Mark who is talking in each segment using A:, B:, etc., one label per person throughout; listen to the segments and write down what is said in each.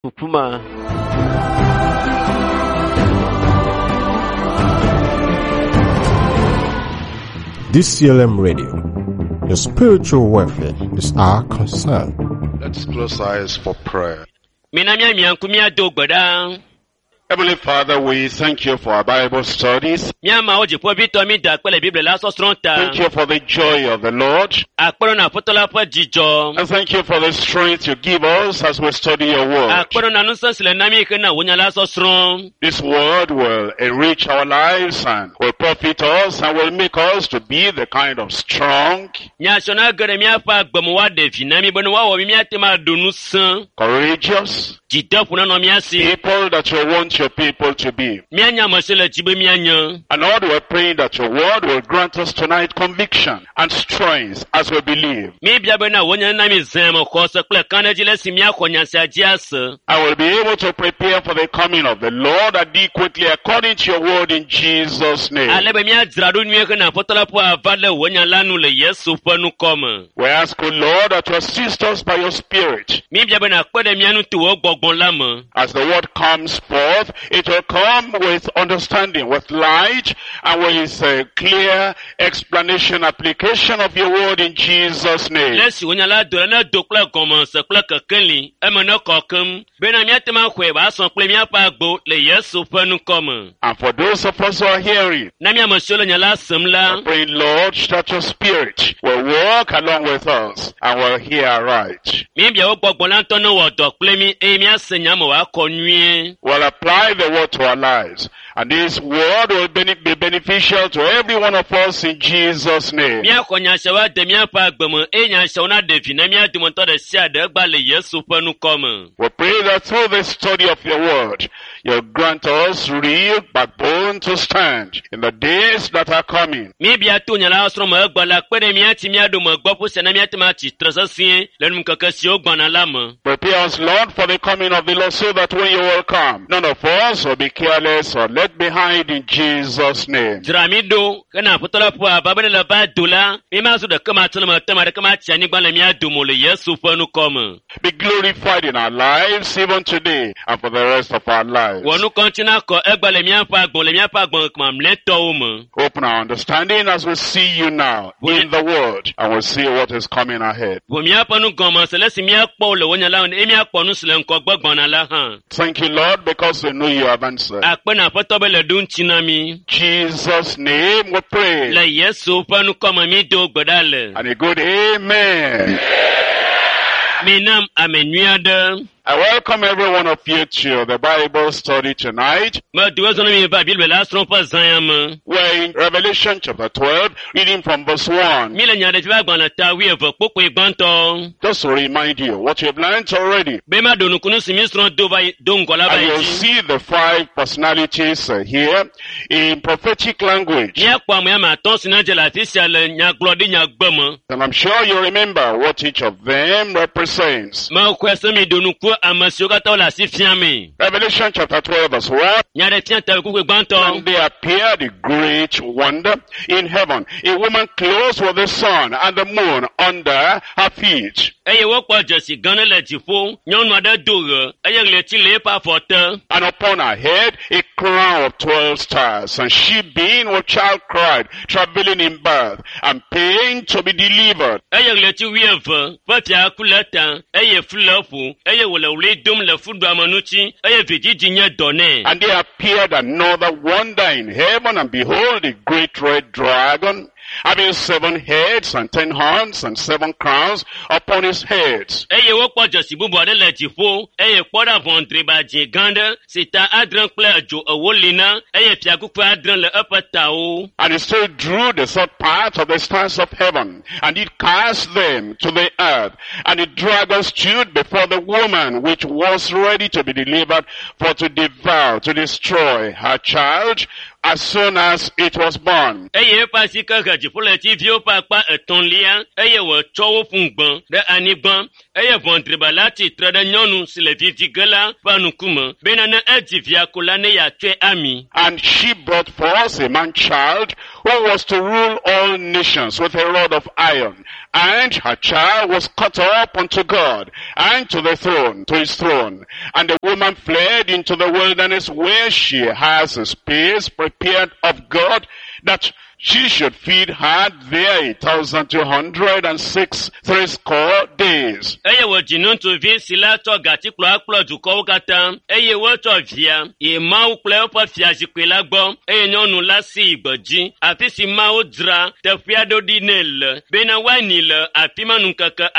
A: Ƒuƒu ma.
B: DCLM Radio. Your spiritual welfare is our concern.
C: Let's close eyes for prayer.
A: Mina míamia ŋku míado gbe ɖa.
C: Heavenly Father, we thank you for our Bible studies.
A: Mía Mawu dziƒoʋĩtɔ mí da akpe le Biblia la sɔsrɔ̃ ta.
C: Thank you for the joy of the Lord.
A: Akpe na Aƒetɔ la ƒe dzidzɔ.
C: And thank you for the strength you give us as we study your word.
A: Akpe na ŋusẽ si le na mí hena wò nya la sɔsrɔ̃.
C: This word will enrich our lives and will profit us and will make us to be the kind of strong,
A: Nya sia na ge ɖe míaƒe agbe me woaɖe vi na mí bene woawɔ mí míate ŋu aɖo ŋusẽ.
C: courageous
A: Dzideƒo nanɔ mía si.
C: people that you want your people to be.
A: Míanye ame si le dzi be míanye.
C: And Lord, we're praying that your word will grant us tonight conviction and strength as we believe.
A: Míebia bena wò nya na mí zẽ me xɔse kple kãɖedzi le esi míaxɔ nya sia dzi ase.
C: I will be able to prepare for the coming of the Lord adequately according to your word in Jesus' name.
A: Ale be míadzra ɖo nyuie hena Aƒetɔ la ƒe ava ɖe wò nya la nu le Yesu ƒe ŋkɔ me.
C: We ask, O Lord, that you assist us by your Spirit.
A: Míebia bena kpe ɖe mía ŋu to wò gbɔgbɔ la me.
C: As the word comes forth, it will come with understanding, with light, and with a clear explanation, application of your word in Jesus' name.
A: Le esi wò nya la do la ne do kple gɔmese kple kekeli, eme ne kɔ keŋ bena míate ŋu axɔe wòasɔ kple míaƒe agbo le Yesu ƒe ŋkɔ me.
C: And for those of us who are hearing,
A: Na mí ame siwo le nya la sem la,
C: I pray, Lord, that your Spirit will walk along with us and will hear aright.
A: míebia wò gbɔgbɔ la ŋutɔ ne wɔ dɔ kple mí eye míase nya me wòakɔ nyuie.
C: Will apply the word to our lives. And this word will be beneficial to every one of us in Jesus' name.
A: Míaxɔ nya siawo ade míaƒe agbe me eye nya siawo naɖe vi na mía dometɔ ɖe sia ɖe egba le Yesu ƒe ŋkɔ me.
C: We pray that through the study of your word, you'll grant us real backbone to stand in the days that are coming.
A: Míebia to nya la srɔ̃ me egbe la kpe ɖe mía ŋuti míaɖo megbe ƒu sia na míate ŋu atsi tre sesĩe le nuŋkeke siwo gbɔna la me.
C: Prepare us, Lord, for the coming of the Lord so that when you will come, none of us will be careless or left behind in Jesus' name.
A: Dzra mí ɖo hena Aƒetɔ la ƒe ava be ne le va do la, mímazu ɖeke matse le me te ame aɖeke matsi anyigba le mía dome o le Yesu ƒe ŋkɔ me.
C: Be glorified in our lives even today and for the rest of our lives.
A: Wɔ nukɔ ŋuti nakɔ egbe le míaƒe agbe le míaƒe agbe mamlɛtɔwo me.
C: Open our understanding as we see you now in the world and we'll see what is coming ahead.
A: Ʋu míaƒe nugɔmese le esi míakpɔ wo le wò nya la me eye míakpɔ nu si le ŋgɔgbe gbɔna la hã.
C: Thank you, Lord, because we know you have answered.
A: Akpe na Aƒetɔ be le ɖo ŋuti na mí.
C: Jesus' name we pray.
A: Le Yesu ƒe ŋkɔ me mído gbe ɖa le.
C: And a good amen.
A: Minam ame nyui aɖe.
C: I welcome every one of you to the Bible study tonight.
A: Medo ezɔ na mi va Biblia la srɔ̃ ƒe zã ya me.
C: We're in Revelation chapter 12, reading from verse 1.
A: Mi le nya ɖe fi ƒe agbalẽ ta wuieve kpokpoe gbãtɔ.
C: Just to remind you what you've learned already.
A: Be maɖo nukunu si mi srɔ̃ do va yi do ŋgɔ la va
C: And
A: yi
C: you'll
A: dzi.
C: see the five personalities here in prophetic language.
A: Míakpɔ ame ame atɔ̃ si na dze le afi sia le nyagblɔɖi nyagbe me.
C: And I'm sure you remember what each of them represents.
A: Mexɔe se mi ɖo nuku ame siwo katã wole asi fia mi.
C: Revelation chapter 12 verse 1.
A: Nya ɖe fia ta kpokpoe gbãtɔ.
C: And there appeared a great wonder in heaven, a woman clothed with the sun and the moon under her feet,
A: Eye wokpɔ dzesi gã ɖe le dziƒo. Nyɔnu aɖe do ɣe eye ɣleti le eƒe afɔ te.
C: and upon her head a crown of 12 stars. And she being with child cried, travailing in birth, and pain to be delivered.
A: Eye ɣleti wuieve ƒe fiaku le eta eye fu le eƒo eye wòle ɣli dom le fuɖuame ŋuti eye vidzidzi nye dɔ nɛ.
C: And there appeared another wonder in heaven, and behold, a great red dragon, having 7 heads and 10 horns and 7 crowns upon his heads.
A: Eye wokpɔ dzesi bubu aɖe le dziƒo eye kpɔ ɖa ʋɔnudriba dzĩ gã aɖe si ta adre kple edzo ewo li na eye fiakuku adre le eƒe tawo.
C: And he still drew the third part of the stars of heaven, and did cast them to the earth. And the dragon stood before the woman which was ready to be delivered, for to devour, to destroy her child as soon as it was born.
A: Eye eƒe asi ke he dziƒoɣletiviwo ƒe akpa etɔ̃lia eye wòtsɔ wo ƒu gbe ɖe anyigba Eye ʋɔnudriba la tsitre ɖe nyɔnu si le vi dzi ge la ƒe ŋkume bena ne edzi via ko la ne yeatsɔe ami.
C: And she brought forth a man child who was to rule all nations with a rod of iron. And her child was caught up unto God and to the throne, to his throne. And the woman fled into the wilderness where she has a space prepared of God that she should feed her there 1,206 threescore days.
A: Eye wòdzi ŋutsuvi si la tsɔ gatikplɔ akplɔ dukɔwo katã eye wotsɔ via yi Mawu kple eƒe fiazikpui la gbɔ eye nyɔnu la si yi gbedzi afi si Mawu dzra teƒea ɖo ɖi nɛ le bena woanyi le afi ma ŋkeke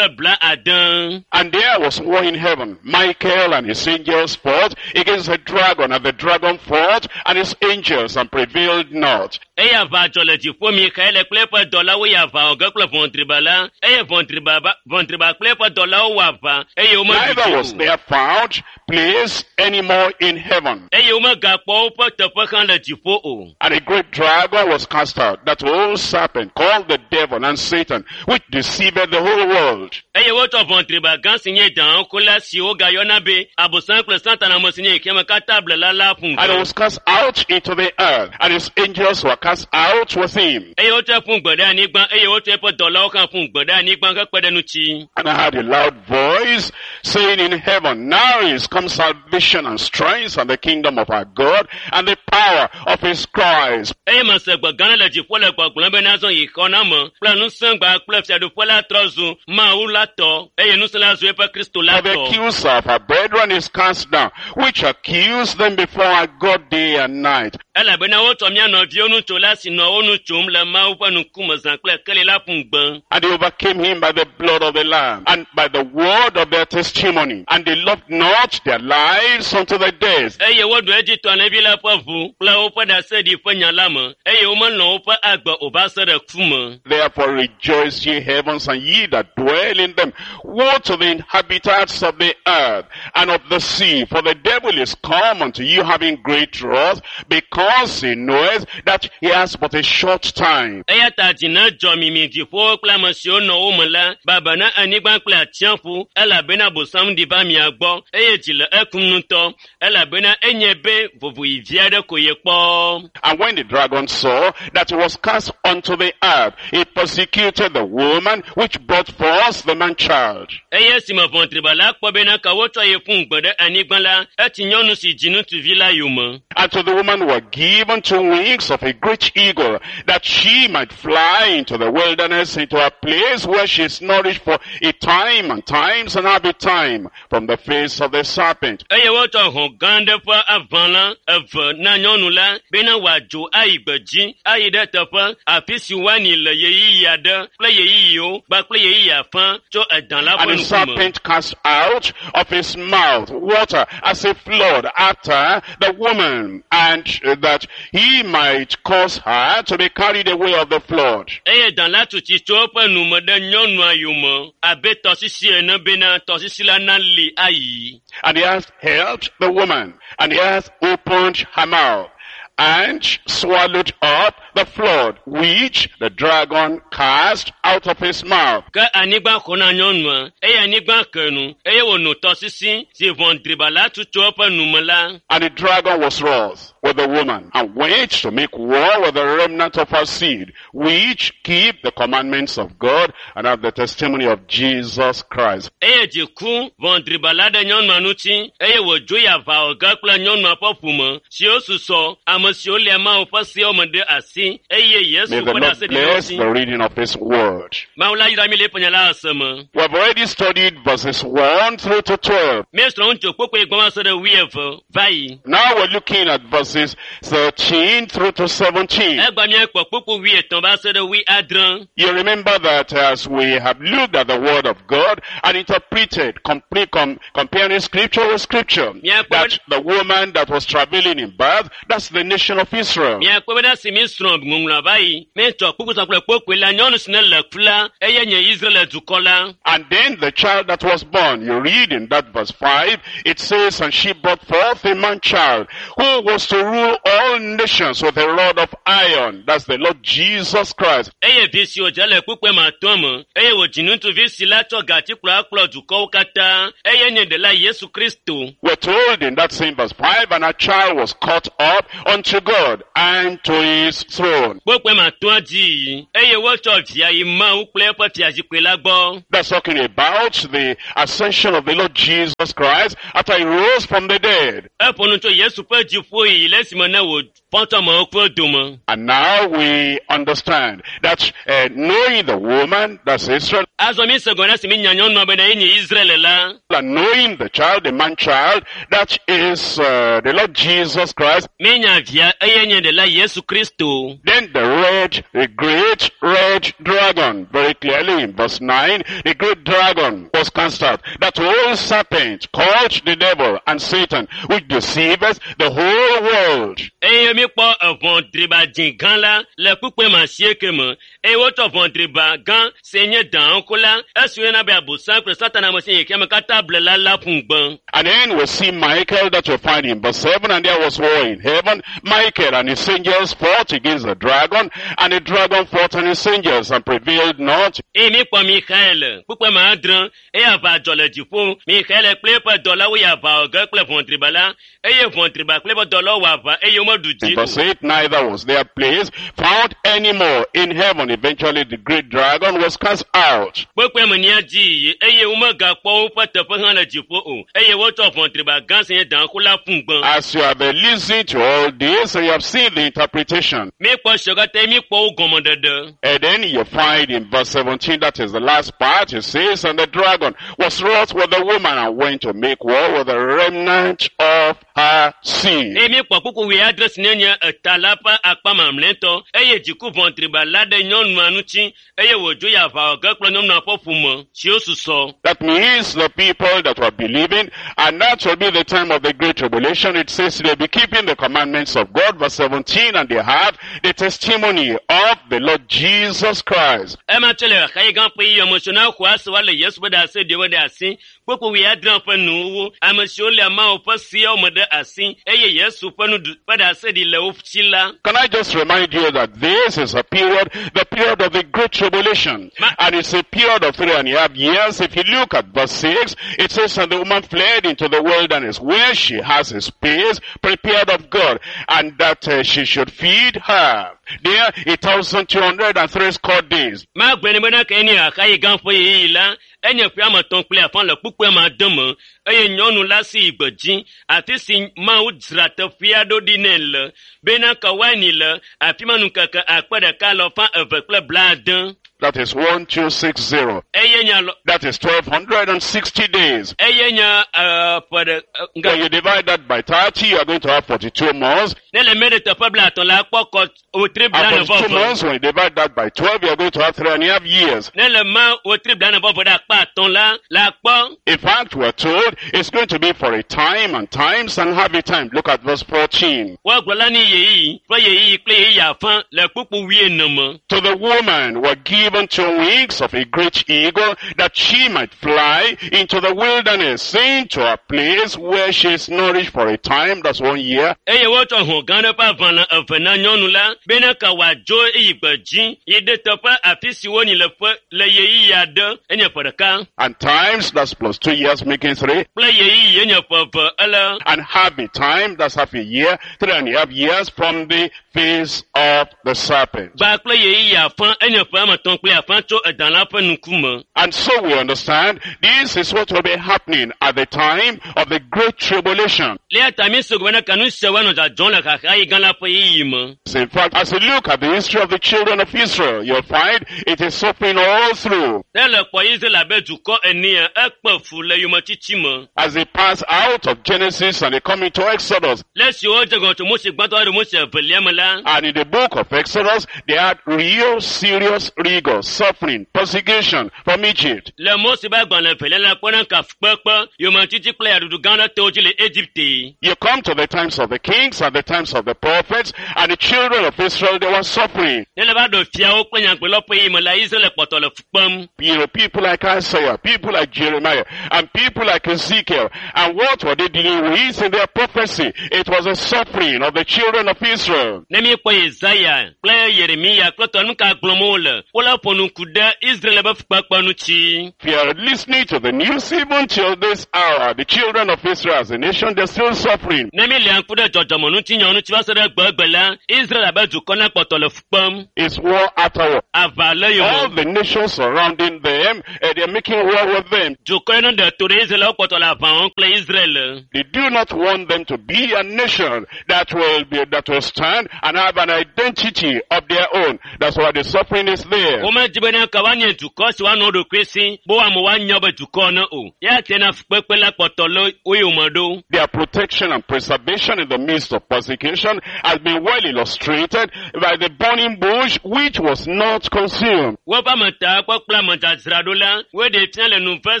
A: 270.
C: And there was war in heaven. Michael and his angels fought against the dragon, and the dragon fought and his angels and prevailed not.
A: Eye aʋa dzɔ le dziƒo Mikael kple eƒe dɔlawo yi aʋa wɔ ge kple ʋɔnudriba la eye ʋɔnudriba kple eƒe dɔlawo wɔ aʋa eye womeɖu
C: Neither
A: dzi
C: was
A: o.
C: there found place anymore in heaven.
A: Eye womegakpɔ woƒe teƒe hã le dziƒo o.
C: And a great dragon was cast out, that old serpent called the devil and Satan, which deceived the whole world.
A: Eye wotsɔ ʋɔnudriba gã si nye dãwokola si wogayɔna be Abosam kple Satana ame si nye xexeame katã blela la ƒu
C: And he
A: gbe.
C: was cast out into the earth, and his angels were cast out with him.
A: Eye wotsɔe ƒu gbe ɖe anyigba eye wotsɔ eƒe dɔlawo hã ƒu gbe ɖe anyigba hekpe ɖe ŋuti.
C: And I heard a loud voice saying in heaven, Now is come salvation and strength and the kingdom of our God and the power of his Christ.
A: Eye mese gbe gã aɖe le dziƒo le gbɔgblɔm be nazɔ yi xɔname kple ŋusẽgba kple fiaɖuƒe la trɔ zu Mawu la tɔ eye ŋusẽ la zu eƒe Kristo la
C: For the
A: tɔ.
C: accuser of our brethren is cast down, which accused them before our God day and night.
A: Elabena wotsɔ mía nɔviwo nutsola si nɔ wo nu tsom le Mawu ƒe ŋkume zã kple keli la ƒu gbe.
C: And they overcame him by the blood of the Lamb and by the word of their testimony. And they loved not their lives unto the death.
A: Eye woɖu edzi tɔ alẽvi la ƒe ʋu kple woƒe ɖaseɖi ƒe nya la me eye womelɔ̃ woƒe agbe o va se ɖe ku me.
C: Therefore rejoice ye heavens and ye that dwell in them. Woe to the inhabitants of the earth and of the sea, for the devil is come unto you having great wrath, because he knoweth that he has but a short time.
A: Eya ta dzi ne dzɔ mi mi dziƒowo kple ame siwo nɔ wo me la, baba na anyigba kple atsiaƒu, elabena Abosam ɖi va mia gbɔ eye dzi le ekum ŋutɔ elabena enye be vovoɣi vi aɖe ko yekpɔ.
C: And when the dragon saw that he was cast unto the earth, he persecuted the woman which brought forth the man-child.
A: Eye esime ʋɔnudriba la kpɔ bena ka wotsɔ ye ƒu gbe ɖe anyigba la, etsi nyɔnu si dzi ŋutsuvi la yome.
C: And to the woman were given 2 wings of a great eagle, that she might fly into the wilderness, into a place where she is nourished for a time and times and half a time from the face of the serpent.
A: Eye wotsɔ hɔ̃ gã aɖe ƒe aʋalã eve na nyɔnu la bena wòadzo ayi gbedzi ayi ɖe teƒe afi si woanyi le ɣeyiɣi aɖe kple ɣeyiɣiwo kpakple ɣeyiɣi afã tso edã la ƒe
C: And the
A: ŋkume.
C: serpent cast out of his mouth water as a flood after the woman, and that he might cause her to be carried away of the flood.
A: Eye dã la tu tsi tso eƒe nu me ɖe nyɔnua yome abe tɔsisi ene bena tɔsisi la nali ayi.
C: And the earth helped the woman, and the earth opened her mouth, and swallowed up the flood which the dragon cast out of his mouth.
A: Ke anyigba xɔ na nyɔnua eye anyigba ke nu eye wòno tɔsisi si ʋɔnudriba la tu tso eƒe nu me la.
C: And the dragon was wroth with the woman, and went to make war with the remnant of her seed, which keep the commandments of God and have the testimony of Jesus Christ.
A: Eye dzi ku ʋɔnudriba la ɖe nyɔnua ŋuti eye wòdzo yi aʋa wɔ ge kple nyɔnua ƒe ƒome siwo susɔ ame siwo lia Mawu ƒe seawo me ɖe asi eye Yesu
C: May the
A: ƒe
C: Lord
A: ɖaseɖiɖi
C: bless
A: ŋuti.
C: the reading of his word.
A: Mawu la yra mi le eƒe nya la ese me.
C: We have already studied verses 1 through to 12.
A: Míesrɔ̃ ŋutsu kpokpoe gbɔ va se ɖe wuieve va yi.
C: Now we're looking at verses 13 through to 17.
A: Egba míakpɔ kpokpo 13 va se ɖe 70.
C: You remember that as we have looked at the word of God and interpreted, comparing scripture with scripture,
A: Yeah,
C: that the woman that was traveling in birth, that's the nation of Israel.
A: Miakpɔ bena si míesrɔ̃ míexlẽ ŋɔŋlɔa va yi míetsɔ kpukpui kple kpokpoe la nyɔnu si ne le ku la eye nye Israel dukɔ la.
C: And then the child that was born, you read in that verse 5, it says, And she brought forth a man child, who was to rule all nations with a rod of iron. That's the Lord Jesus Christ.
A: Eye vi si wòdze le kpukpui ma tɔ me eye wòdzi ŋutsuvi si la tsɔ gatikplɔ akplɔ dukɔwo katã eye nye ɖela Yesu Kristo.
C: We're told in that same verse 5, and a child was caught up unto God and to his throne.
A: Kpokpoe ma tɔa dzi yi eye wotsɔ via yi Mawu kple eƒe fiazikpui la gbɔ.
C: That's talking about the ascension of the Lord Jesus Christ after he rose from the dead.
A: Eƒo nu tso Yesu ƒe dziƒo yi le esime ne wòfɔ tso amewo ƒe dome.
C: And now we understand that knowing the woman, that's Israel,
A: Azɔ mi se gɔme ɖe esi mi nya nyɔnua bena ye nye Israel la.
C: and knowing the child, the man child, that is the Lord Jesus Christ.
A: Mi nya via eye nye ɖela Yesu Kristo.
C: Then the great red dragon, very clearly in verse 9, the great dragon was cast out. That old serpent called the devil and Satan, which deceiveth the whole world.
A: Eye mi kpɔ eʋɔ driba dzĩ gã la le kpukpui ma asieke me eye wotsɔ ʋɔ driba gã si nye dãwo la esi woyɔna be Abosam kple Satana ame si nye xexeame katã ble la la ƒu gbe.
C: And then we see Michael that you find in verse 7, and there was war in heaven. Michael and his angels fought against the dragon, and the dragon fought and his angels and prevailed not.
A: Eye mi kpɔ Mikael kpukpui ma adre eye aʋa dzɔ le dziƒo. Mikael kple eƒe dɔlawo yi aʋa wɔ ge kple ʋɔ driba la eye ʋɔ driba kple eƒe dɔlawo wɔ aʋa eye womeɖu
C: In
A: dzi
C: verse
A: o.
C: 8, neither was their place found anymore in heaven. Eventually the great dragon was cast out.
A: Kpekpe me nia dzi yi eye womegakpɔ woƒe teƒe hã le dziƒo o eye wotsɔ ʋɔ driba gã si nye dãxo la ƒu gbe.
C: As you have listened to all this, you have seen the interpretation.
A: Míekpɔ siawo katã míekpɔ wo gɔmeɖeɖe.
C: And then you find in verse 17, that is the last part, it says, And the dragon was wroth with the woman and went to make war with the remnant of her seed.
A: Eye míekpɔ kpukpui wuiadre si ne nye eta la ƒe akpa mamlɛtɔ eye dziku ʋɔ driba la ɖe nyɔnua ŋuti eye wòdzo yi aʋa wɔ ge kple nyɔnua ƒe ƒome siwo susɔ.
C: That means the people that were believing, and that will be the time of the great tribulation. It says they'll be keeping the commandments of God, verse 17, and they have the testimony of the Lord Jesus Christ.
A: Ema tso le xaxi gã ƒe yiyɔme si na xɔa se wa le Yesu ƒe ɖase ɖiwo ɖe asi. Kpukpui wuiadre ƒe nuwuwu ame siwo le Mawu ƒe seawo me ɖe asi eye Yesu ƒe nuɖu ƒe ɖase ɖi le wo si la.
C: Can I just remind you that this is a period, the period of the great tribulation. And it's a period of 3.5 years. If you look at verse 6, it says, And the woman fled into the wilderness, where she has a space prepared of God, and that she should feed her. There, 1,260 days.
A: Magblɔe nɛ bena ke nye xaxi gã ƒe ɣeyiɣi la, enye ƒe ame etɔ̃ kple afã le kpukpui ma ade me eye nyɔnu la si yi gbedzi afi si Mawu dzra teƒea ɖo ɖi nɛ le bena ke woanyi le afi ma ŋkeke akpe ɖeka alafa eve kple blaade.
C: That is 1260.
A: Eye nye alɔ
C: That is 1,260 days.
A: eye nye ƒe ɖe
C: When
A: ŋke
C: you divide that by 30, you are going to have 42 months.
A: ne le mɛ ɖe teƒe blaetɔ̃ la akpɔ kɔ wotri blane
C: And 42
A: vɔ eve.
C: months, when you divide that by 12, you are going to have 3.5 years.
A: Ne le ma wotri blane vɔ eve ɖe akpa atɔ̃ la la akpɔ
C: In fact, we're told it's going to be for a time and times and half a time. Look at verse 14.
A: woagblɔ la ne yeyiyi ƒe yeyiyi kple yeyiyi afã le kpukpui wuiene me.
C: To the woman were given 2 wings of a great eagle, that she might fly into the wilderness, into a place where she is nourished for a time, that's 1 year,
A: Eye wotsɔ hɔ̃ gã ɖe ƒe aʋalã eve na nyɔnu la bena ka wòadzo yi gbedzi yi ɖe teƒe afi si wonyi le ƒe le yeyiyi aɖe enye ƒe ɖeka
C: and times, that's plus 2 years, making 3,
A: kple yeyiyi enye ƒe eve ele
C: and half a time, that's half a year, 3.5 years from the face of the serpent.
A: gba kple yeyiyi afã enye ƒe ame etɔ̃ kple afã tso edã la ƒe ŋkume.
C: And so we understand this is what will be happening at the time of the great tribulation.
A: Le eya ta mi se gɔme bena ka nu siawo anɔ dzɔdzɔm le xaxaɣi gã la ƒe ɣeyiɣi me.
C: In fact, as you look at the history of the children of Israel, you'll find it is suffering all through.
A: Ne le kpɔ Israel abe dukɔ enea, ekpe fu le yometiti me.
C: As they pass out of Genesis and they come into Exodus.
A: Le esi wodze gɔme tso Mose gbãtɔ ɖe Mose evelia me la,
C: And in the book of Exodus, they had real serious rigor. rigor, suffering, persecution from Egypt.
A: Le Mose ƒe agbalẽ evelia la kpɔna ka fukpekpe, yometiti kple yaɖuɖu gã aɖe to wo dzi le Egipte.
C: You come to the times of the kings and the times of the prophets, and the children of Israel, they were suffering.
A: Ne le va ɖo fiawo kple nyagblɔlawo ƒe ɣeyiɣi me la, Israel kpɔtɔ le fu kpem.
C: People like Isaiah, people like Jeremiah, and people like Ezekiel. And what were they dealing with in their prophecy? It was the suffering of the children of Israel.
A: Ne míekpɔ Yesaya kple Yeremiya kple tɔ nu ka gblɔm wole, wole ƒo nu ku ɖe Israel ƒe fukpekpe ŋuti.
C: If you are listening to the news even till this hour, the children of Israel as a nation, they're still suffering.
A: Ne míelia ŋku ɖe dzɔdzɔmeŋutinyawo ŋuti va se ɖe egbegbe la, Israel abe dukɔ na kpɔtɔ le fu kpem.
C: It's war after war.
A: Aʋa le
C: All
A: yome.
C: the nations surrounding them, they're making war with them.
A: Dukɔ yi ne ɖe to ɖe Israel wokpɔtɔ le aʋa wɔm kple Israel.
C: They do not want them to be a nation that will stand and have an identity of their own. That's why the suffering is there.
A: Womedi bena ka woanye dukɔ si woanɔ wo ɖokui si be woame woanya be dukɔ ne o. Ya te na fukpekpe la kpɔtɔ le wo yome ɖo.
C: Their protection and preservation in the midst of persecution has been well illustrated by the burning bush which was not consumed.
A: Woƒe ametakpɔ kple amedzadzraɖo la, woɖe fia le nuve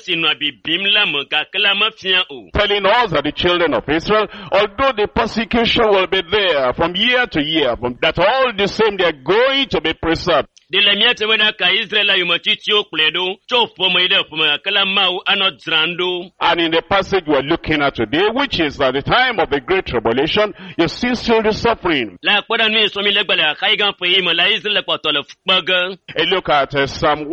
A: si nɔa bibim la me gake la mefia o.
C: Telling us that the children of Israel, although the persecution will be there from year to year, but that all the same they are going to be preserved.
A: Ɖe le mía te bena ka Israel la yometitiwo kplɔe ɖo tso ƒome yi ɖe ƒome gake la Mawu anɔ dzram ɖo.
C: And in the passage we're looking at today, which is at the time of the Great Tribulation, you see still the suffering.
A: Le akpɔ ɖe nu yi sɔmi le gbe le xaxayi gã ƒe yi me la Israel kpɔtɔ le fu kpe ge.
C: And look at Psalm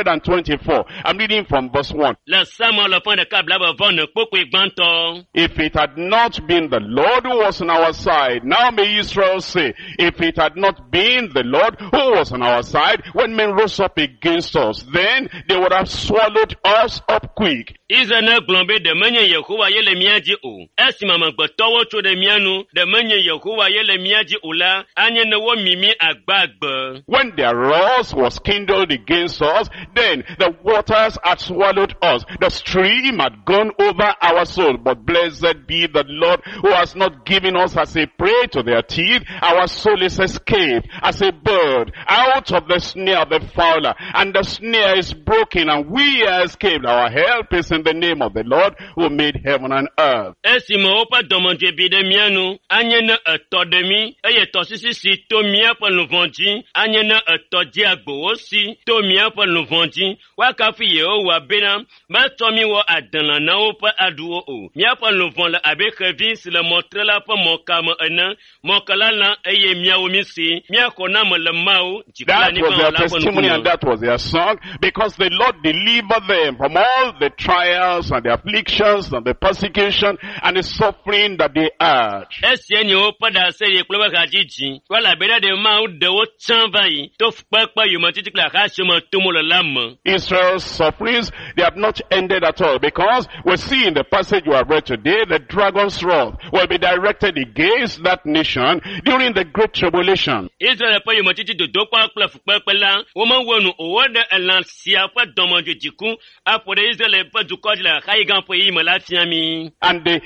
C: 124. I'm reading from verse 1.
A: Le Psalm alafa ɖeka blaeve vɔ ene kpukpui gbãtɔ.
C: If it had not been the Lord who was on our side, now may Israel say, if it had not been the Lord who was on our side, when men rose up against us, then they would have swallowed us up quick.
A: Israel ne gblɔ be ɖe menye Yehowa ye le mía dzi o. Esime amegbetɔwo tso ɖe mía nu, ɖe menye Yehowa ye le mía dzi o la, anye ne womi mí agbagbe.
C: When their wrath was kindled against us, then the waters had swallowed us. The stream had gone over our soul. But blessed be the Lord who has not given us as a prey to their teeth. Our soul is escaped as a bird out of the snare of the fowler. And the snare is broken and we are escaped. Our help is in the name of the Lord who made heaven and earth.
A: Esime woƒe dɔmedzoe bi ɖe mía nu, anye ne etɔ ɖe mí, eye tɔsisi si to míaƒe luʋɔ dzi, anye ne etɔ dzi agbowo si to míaƒe luʋɔ dzi. Woakafu Yehowa bena metsɔ mí wɔ adelã na woƒe aɖuwo o. Míaƒe luʋɔ le abe xevi si le mɔtrela ƒe mɔka me ene. Mɔka la lã eye míawo mí si. Míaxɔ na me le Mawu dziƒo
C: That was their
A: anyigba la ƒe
C: testimony
A: ŋkume.
C: and that was their song, because the Lord delivered them from all the trials and the afflictions and the persecution and the suffering that they had.
A: Esia nye woƒe ɖaseɖiɖi kple woƒe hadzidzi. Elabena ɖe Mawu ɖe wo tsã va yi to fukpekpe yometiti kple xaxa siwo me tom wole la me.
C: Israel's sufferings, they have not ended at all, because we see in the passage we have read today, the dragon's wrath will be directed against that nation during the Great Tribulation.
A: Israel ƒe yometiti dodokpɔ kple fukpekpe la, womewo nu o. Woɖe elã sia ƒe dɔmedzoe dziku aƒo ɖe Israel ƒe dukɔ dzi le xaxaɣi gã ƒe ɣeyiɣi me la fia mí.
C: And the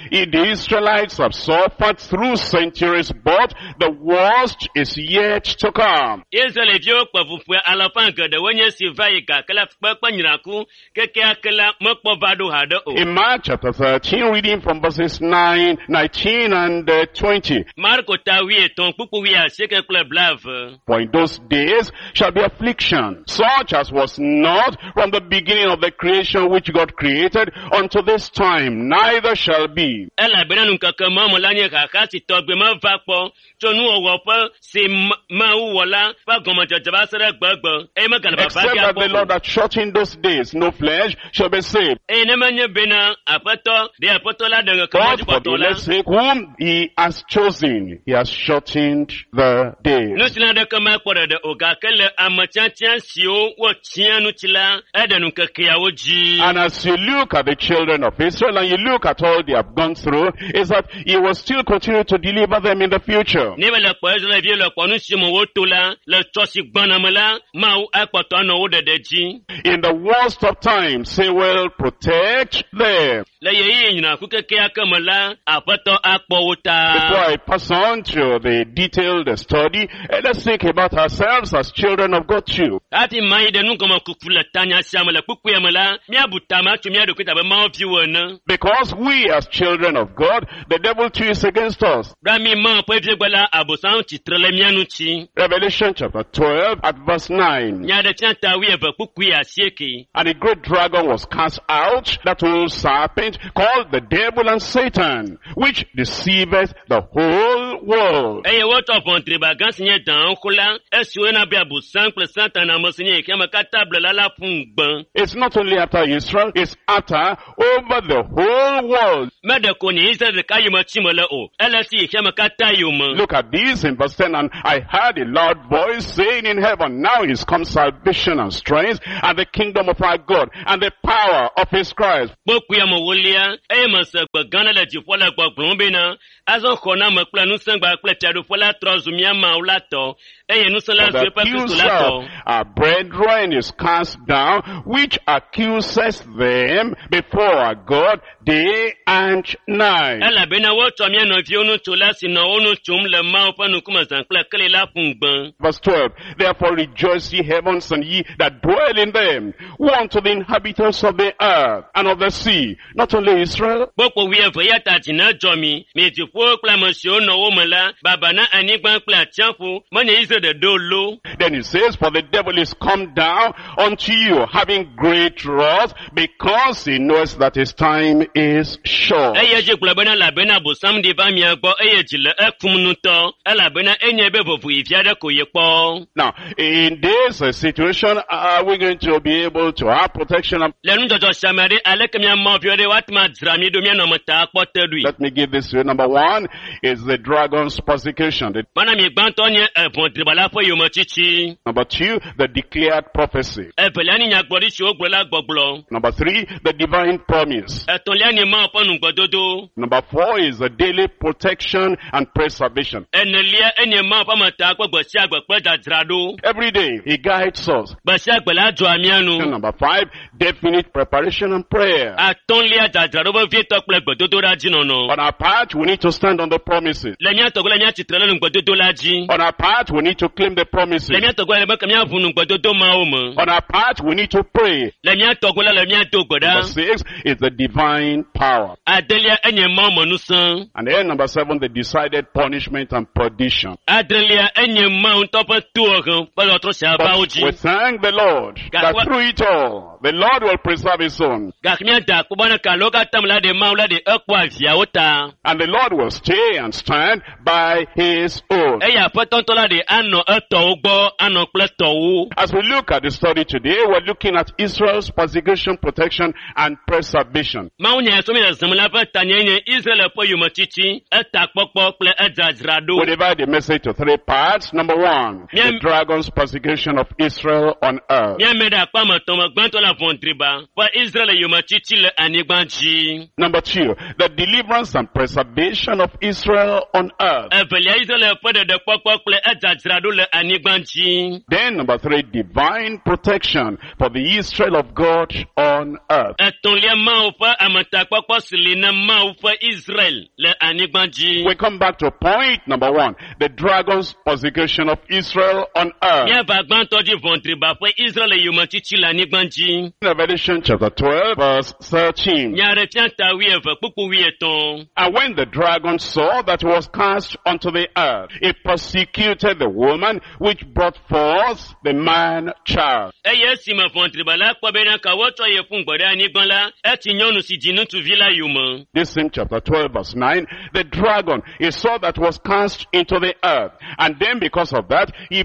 C: Israelites have suffered through centuries, but the worst is yet to come.
A: Israelviwo kpe fu ƒe alafa geɖewo nye esi va yi gake la fukpekpe nyraku kekeake la mekpɔ va ɖo haɖe o.
C: In Mark chapter 13, reading from verses 9, 19 and 20.
A: Marko ta wuietɔ̃ kpukpu wuiasieke kple blaeve.
C: For in those days shall be affliction, such as was not from the beginning of the creation which God created unto this time, neither shall be.
A: Elabena nukeke ma me la nye xaxa si tɔgbe meva kpɔ tso nuwɔwɔ ƒe si Mawu wɔ la ƒe gɔmedzedze va se ɖe egbegbe eye megale vava
C: Except
A: ge
C: that
A: akpɔ
C: the
A: o.
C: Lord had shortened those days, no flesh shall be saved.
A: Eye ne menye bena Aƒetɔ ɖe Aƒetɔ la ɖe ŋkeke ma
C: But
A: dzi
C: for the
A: kpɔtɔ la,
C: elect's sake, whom he has chosen, he has shortened the days.
A: nu si la ɖeke makpɔ ɖeɖe o gake le ame tiatia siwo wotia ŋuti la, eɖe nukekeawo dzi.
C: And as you look at the children of Israel and you look at all they have gone through, is that he will still continue to deliver them in the future.
A: Ne be le kpɔ Israelviwo le kpɔ nu si me woto la le tsɔ si gbɔna me la, Mawu akpɔtɔ anɔ wo ɖeɖe dzi.
C: In the worst of times, he will protect them.
A: Le ɣeyiɣi nyinaku kekeake me la, Aƒetɔ akpɔ wo ta.
C: Before I pass on to the detailed study, let's think about ourselves as children of God too.
A: Hafi mayi ɖe nugɔmekuku le tanya sia me le kpukpuia me la, míabu tame atso mía ɖokui ta abe Mawu viwo ene.
C: Because we as children of God, the devil too is against us.
A: Ɖo mi Mawu ƒe vi gbe la, Abosam tsitre le mía ŋuti.
C: Revelation chapter 12 at verse 9.
A: Nyaɖeɖefia ta 12 kpukpui 8.
C: And a great dragon was cast out, that old serpent called the devil and Satan, which deceiveth the whole world.
A: Eye wotsɔ ʋɔnudriba gã si nye dãxoxo la, esi woyɔna be Abosam kple Satana ame si nye xexeame katã blela la ƒu ŋugbe.
C: It's not only after Israel, it's after over the whole world.
A: Meɖe ko nye Israel ɖeka yome tsim mele o, ele si xexeame katã yome.
C: Look at this in verse 10. And I heard a loud voice saying in heaven, now is come salvation and strength and the kingdom of our God and the power of his Christ.
A: Kpokpuia me wolia, eye mese gbe gã aɖe le dziƒo le gbɔgblɔm bena, azɔ xɔname kple ŋusẽgba kple fiaɖuƒe la trɔ zu mía Mawu la tɔ, eye ŋusẽ la
C: For
A: zu
C: the
A: eƒe Kristo la
C: accuser
A: tɔ.
C: of our brethren is cast down, which accuses them before our God day and night.
A: Elabena wotsɔ mía nɔviwo nu tso la si nɔ wo nu tsom le Mawu ƒe ŋkume zã kple keli la ƒu ŋugbe.
C: Verse 12, therefore rejoice ye heavens and ye that dwell in them. Woe unto the inhabitants of the earth and of the sea, not only Israel,
A: Kpokpo 12 eya ta dzi nedzɔ mi, mi dziƒowo kple ame siwo nɔ wo me la, baba na anyigba kple atsiaƒu, menye Israel ɖeɖe o lo.
C: Then he says, for the devil is come down unto you, having great wrath, because he knows that his time is short.
A: Eye dzi gblɔ bena elabena Abosam ɖi va mia gbɔ eye dzi le ekum ŋutɔ, elabena enye be vovoɣi vi aɖe ko yekpɔ.
C: Now, in this situation, are we going to be able to have protection? And
A: Le nudzɔdzɔ sia me ɖe, aleke mía Mawu viwo ɖe woate ŋu adzra mí ɖo míanɔ ame ta akpɔ te ɖoe.
C: Let me give this to you. Number one is the dragon's persecution.
A: Mana mi gbãtɔ nye eʋɔdriba la ƒe yometsitsi.
C: Number two, the declared prophecy.
A: Evelia nye nyagblɔɖi si wogblɔ la gbɔgblɔ.
C: Number three, the divine promise.
A: Etɔ̃lia nye Mawu ƒe nugbedodo.
C: Number four is the daily protection and preservation.
A: Enelia enye Mawu ƒe ametakpɔ gbe sia gbe kple dzadzraɖo.
C: Every day, he guides us.
A: Gbe sia gbe la dzɔa mía nu.
C: And number five, definite preparation and prayer.
A: Atɔ̃lia dzadzraɖo vevietɔ kple gbedodoɖa dzi nɔnɔ.
C: On our part, we need to stand on the promises.
A: Le mía tɔgbe la míatsitre ɖe nugbedodo la dzi.
C: On our part, we need to claim the promises.
A: Le mía tɔgbe la be ke míaʋu nugbedodo mawo me.
C: On our part, we need to pray.
A: Le mía tɔgbe la le míado gbe
C: Number
A: ɖa.
C: six is the divine power.
A: Adelia enye Mawu me ŋusẽ.
C: And then number seven, the decided punishment and perdition.
A: Adrelia enye Mawu ŋutɔ ƒe tohehe ƒe tɔtrɔ sia va wo
C: But
A: dzi.
C: we thank the Lord that through it all, the Lord will preserve his own.
A: Gake míada akpe bena ke alo katã me la ɖe Mawu la ɖe ekpɔa viawo ta.
C: And the Lord will stay and stand by his own.
A: Eye Aƒetɔ ŋutɔ la ɖe anɔ etɔwo gbɔ, anɔ kple tɔwo.
C: As we look at the study today, we're looking at Israel's persecution, protection, and preservation.
A: Mawu nya so mi le zem la ƒe tanye nye Israel ƒe yometiti, etakpɔkpɔ kple edzadzraɖo.
C: We divide the message to three parts. Number one, the dragon's persecution of Israel on earth.
A: Míame ɖe akpa me tɔn me gbãtɔ le ʋɔnudriba ƒe Israel yometiti le anyigba dzi.
C: Number two, the deliverance and preservation of Israel on earth.
A: Evelia Israel ƒe ɖeɖekpɔkpɔ kple edzadzraɖo le anyigba dzi.
C: Then number three, divine protection for the Israel of God on earth.
A: Etɔ̃lia Mawu ƒe ametakpɔkpɔ si li na Mawu ƒe Israel le anyigba dzi.
C: We come back to point number one, the dragon's persecution of Israel on earth.
A: Míava gbãtɔ dzi ʋɔnudriba ƒe Israel yometiti le anyigba dzi.
C: Revelation chapter 12 verse 13.
A: Nyaɖefia ta 12 kpukpu 13.
C: And when the dragon saw that he was cast unto the earth, he persecuted the woman which brought forth the man child.
A: Eye esime ʋɔnudriba la kpɔ bena ka wotsɔ ye ƒu gbe ɖe anyigba la, etsi nyɔnu si dzi ŋutsuvi la yome.
C: This same chapter 12 verse 9, the dragon, he saw that was cast into the earth. And then because of that, he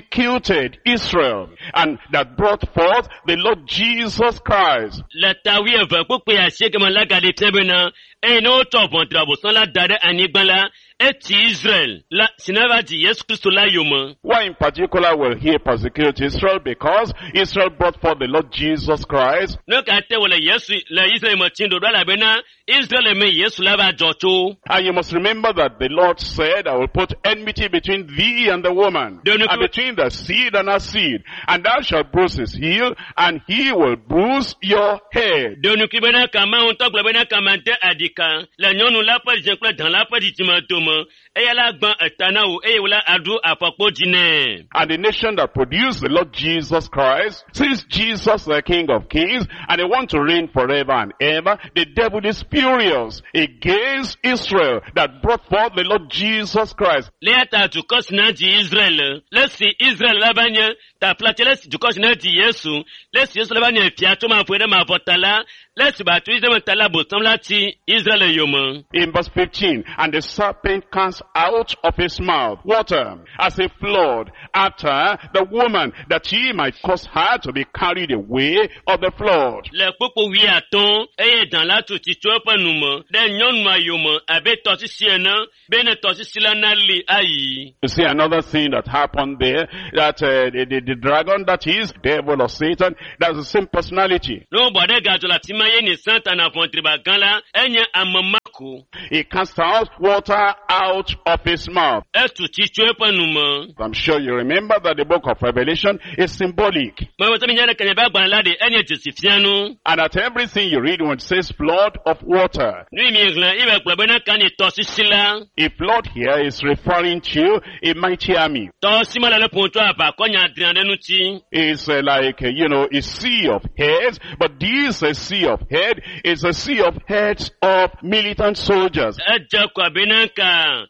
C: persecuted Israel and that brought forth the Lord Jesus Christ.
A: Le ta 12 kpukpui 8 me la gaɖe fia bena eye ne wotsɔ ʋɔnudriba bosã la da ɖe anyigba la, Etsi Israel la si ne va dzi Yesu Kristo la yome.
C: Why in particular will he persecute Israel? Because Israel brought forth the Lord Jesus Christ.
A: Nu ka te wòle Yesu le Israel me tsim ɖoɖo elabena Israel me Yesu la va dzɔ tso.
C: And you must remember that the Lord said, I will put enmity between thee and the woman, and between the seed and her seed, and thou shalt bruise his heel, and he will bruise your head.
A: Ɖo ŋkui bena ka Mawu ŋutɔ gblɔ bena ka made aɖika le nyɔnu la ƒe dzidzime kple dã la ƒe dzidzime dome. Eya la gbã eta na wò eye wòla aɖu afɔkpo dzi nɛ.
C: And the nation that produced the Lord Jesus Christ, since Jesus the King of Kings, and they want to reign forever and ever, the devil is furious against Israel that brought forth the Lord Jesus Christ.
A: Le ya ta dukɔ si na dzi Israel, le si Israel la va nye taflatse le si dukɔ si na dzi Yesu, le si Yesu la va nye fia tso mavɔe ɖe mavɔ ta la, le si ba tu Israel me ta la bosam la tsi Israel yome.
C: In verse 15, and the serpent cast out of his mouth water as a flood after the woman, that he might cause her to be carried away of the flood.
A: Le kpukpu wuiatɔ̃ eye dã la tu tsi tso eƒe nu me ɖe nyɔnua yome abe tɔsisi ene bene tɔsisi la nali ayi.
C: You see another thing that happened there, that the dragon, that is devil or Satan, that's the same personality.
A: Ne wobɔ ɖe gadzɔ le afi ma ye ni Satana ʋɔ̃driba gã la, enye ame ma ko.
C: He cast out water out of his mouth.
A: Etu tsi tso eƒe nu me.
C: I'm sure you remember that the book of Revelation is symbolic.
A: Mewɔ mi nya ɖe kenya be agbalẽ la ɖe enye dzesi fianu.
C: And at everything you read when it says flood of water,
A: Nu yi mi xlẽ ye be gblɔ bena ka ni tɔsisi la.
C: a flood here is referring to a mighty army.
A: Tɔsisi ma le le ƒom tso aʋakɔ nyadri aɖe ŋuti.
C: It's like, a sea of heads, but this sea of head is a sea of heads of militant soldiers.
A: Edze kɔ abe ka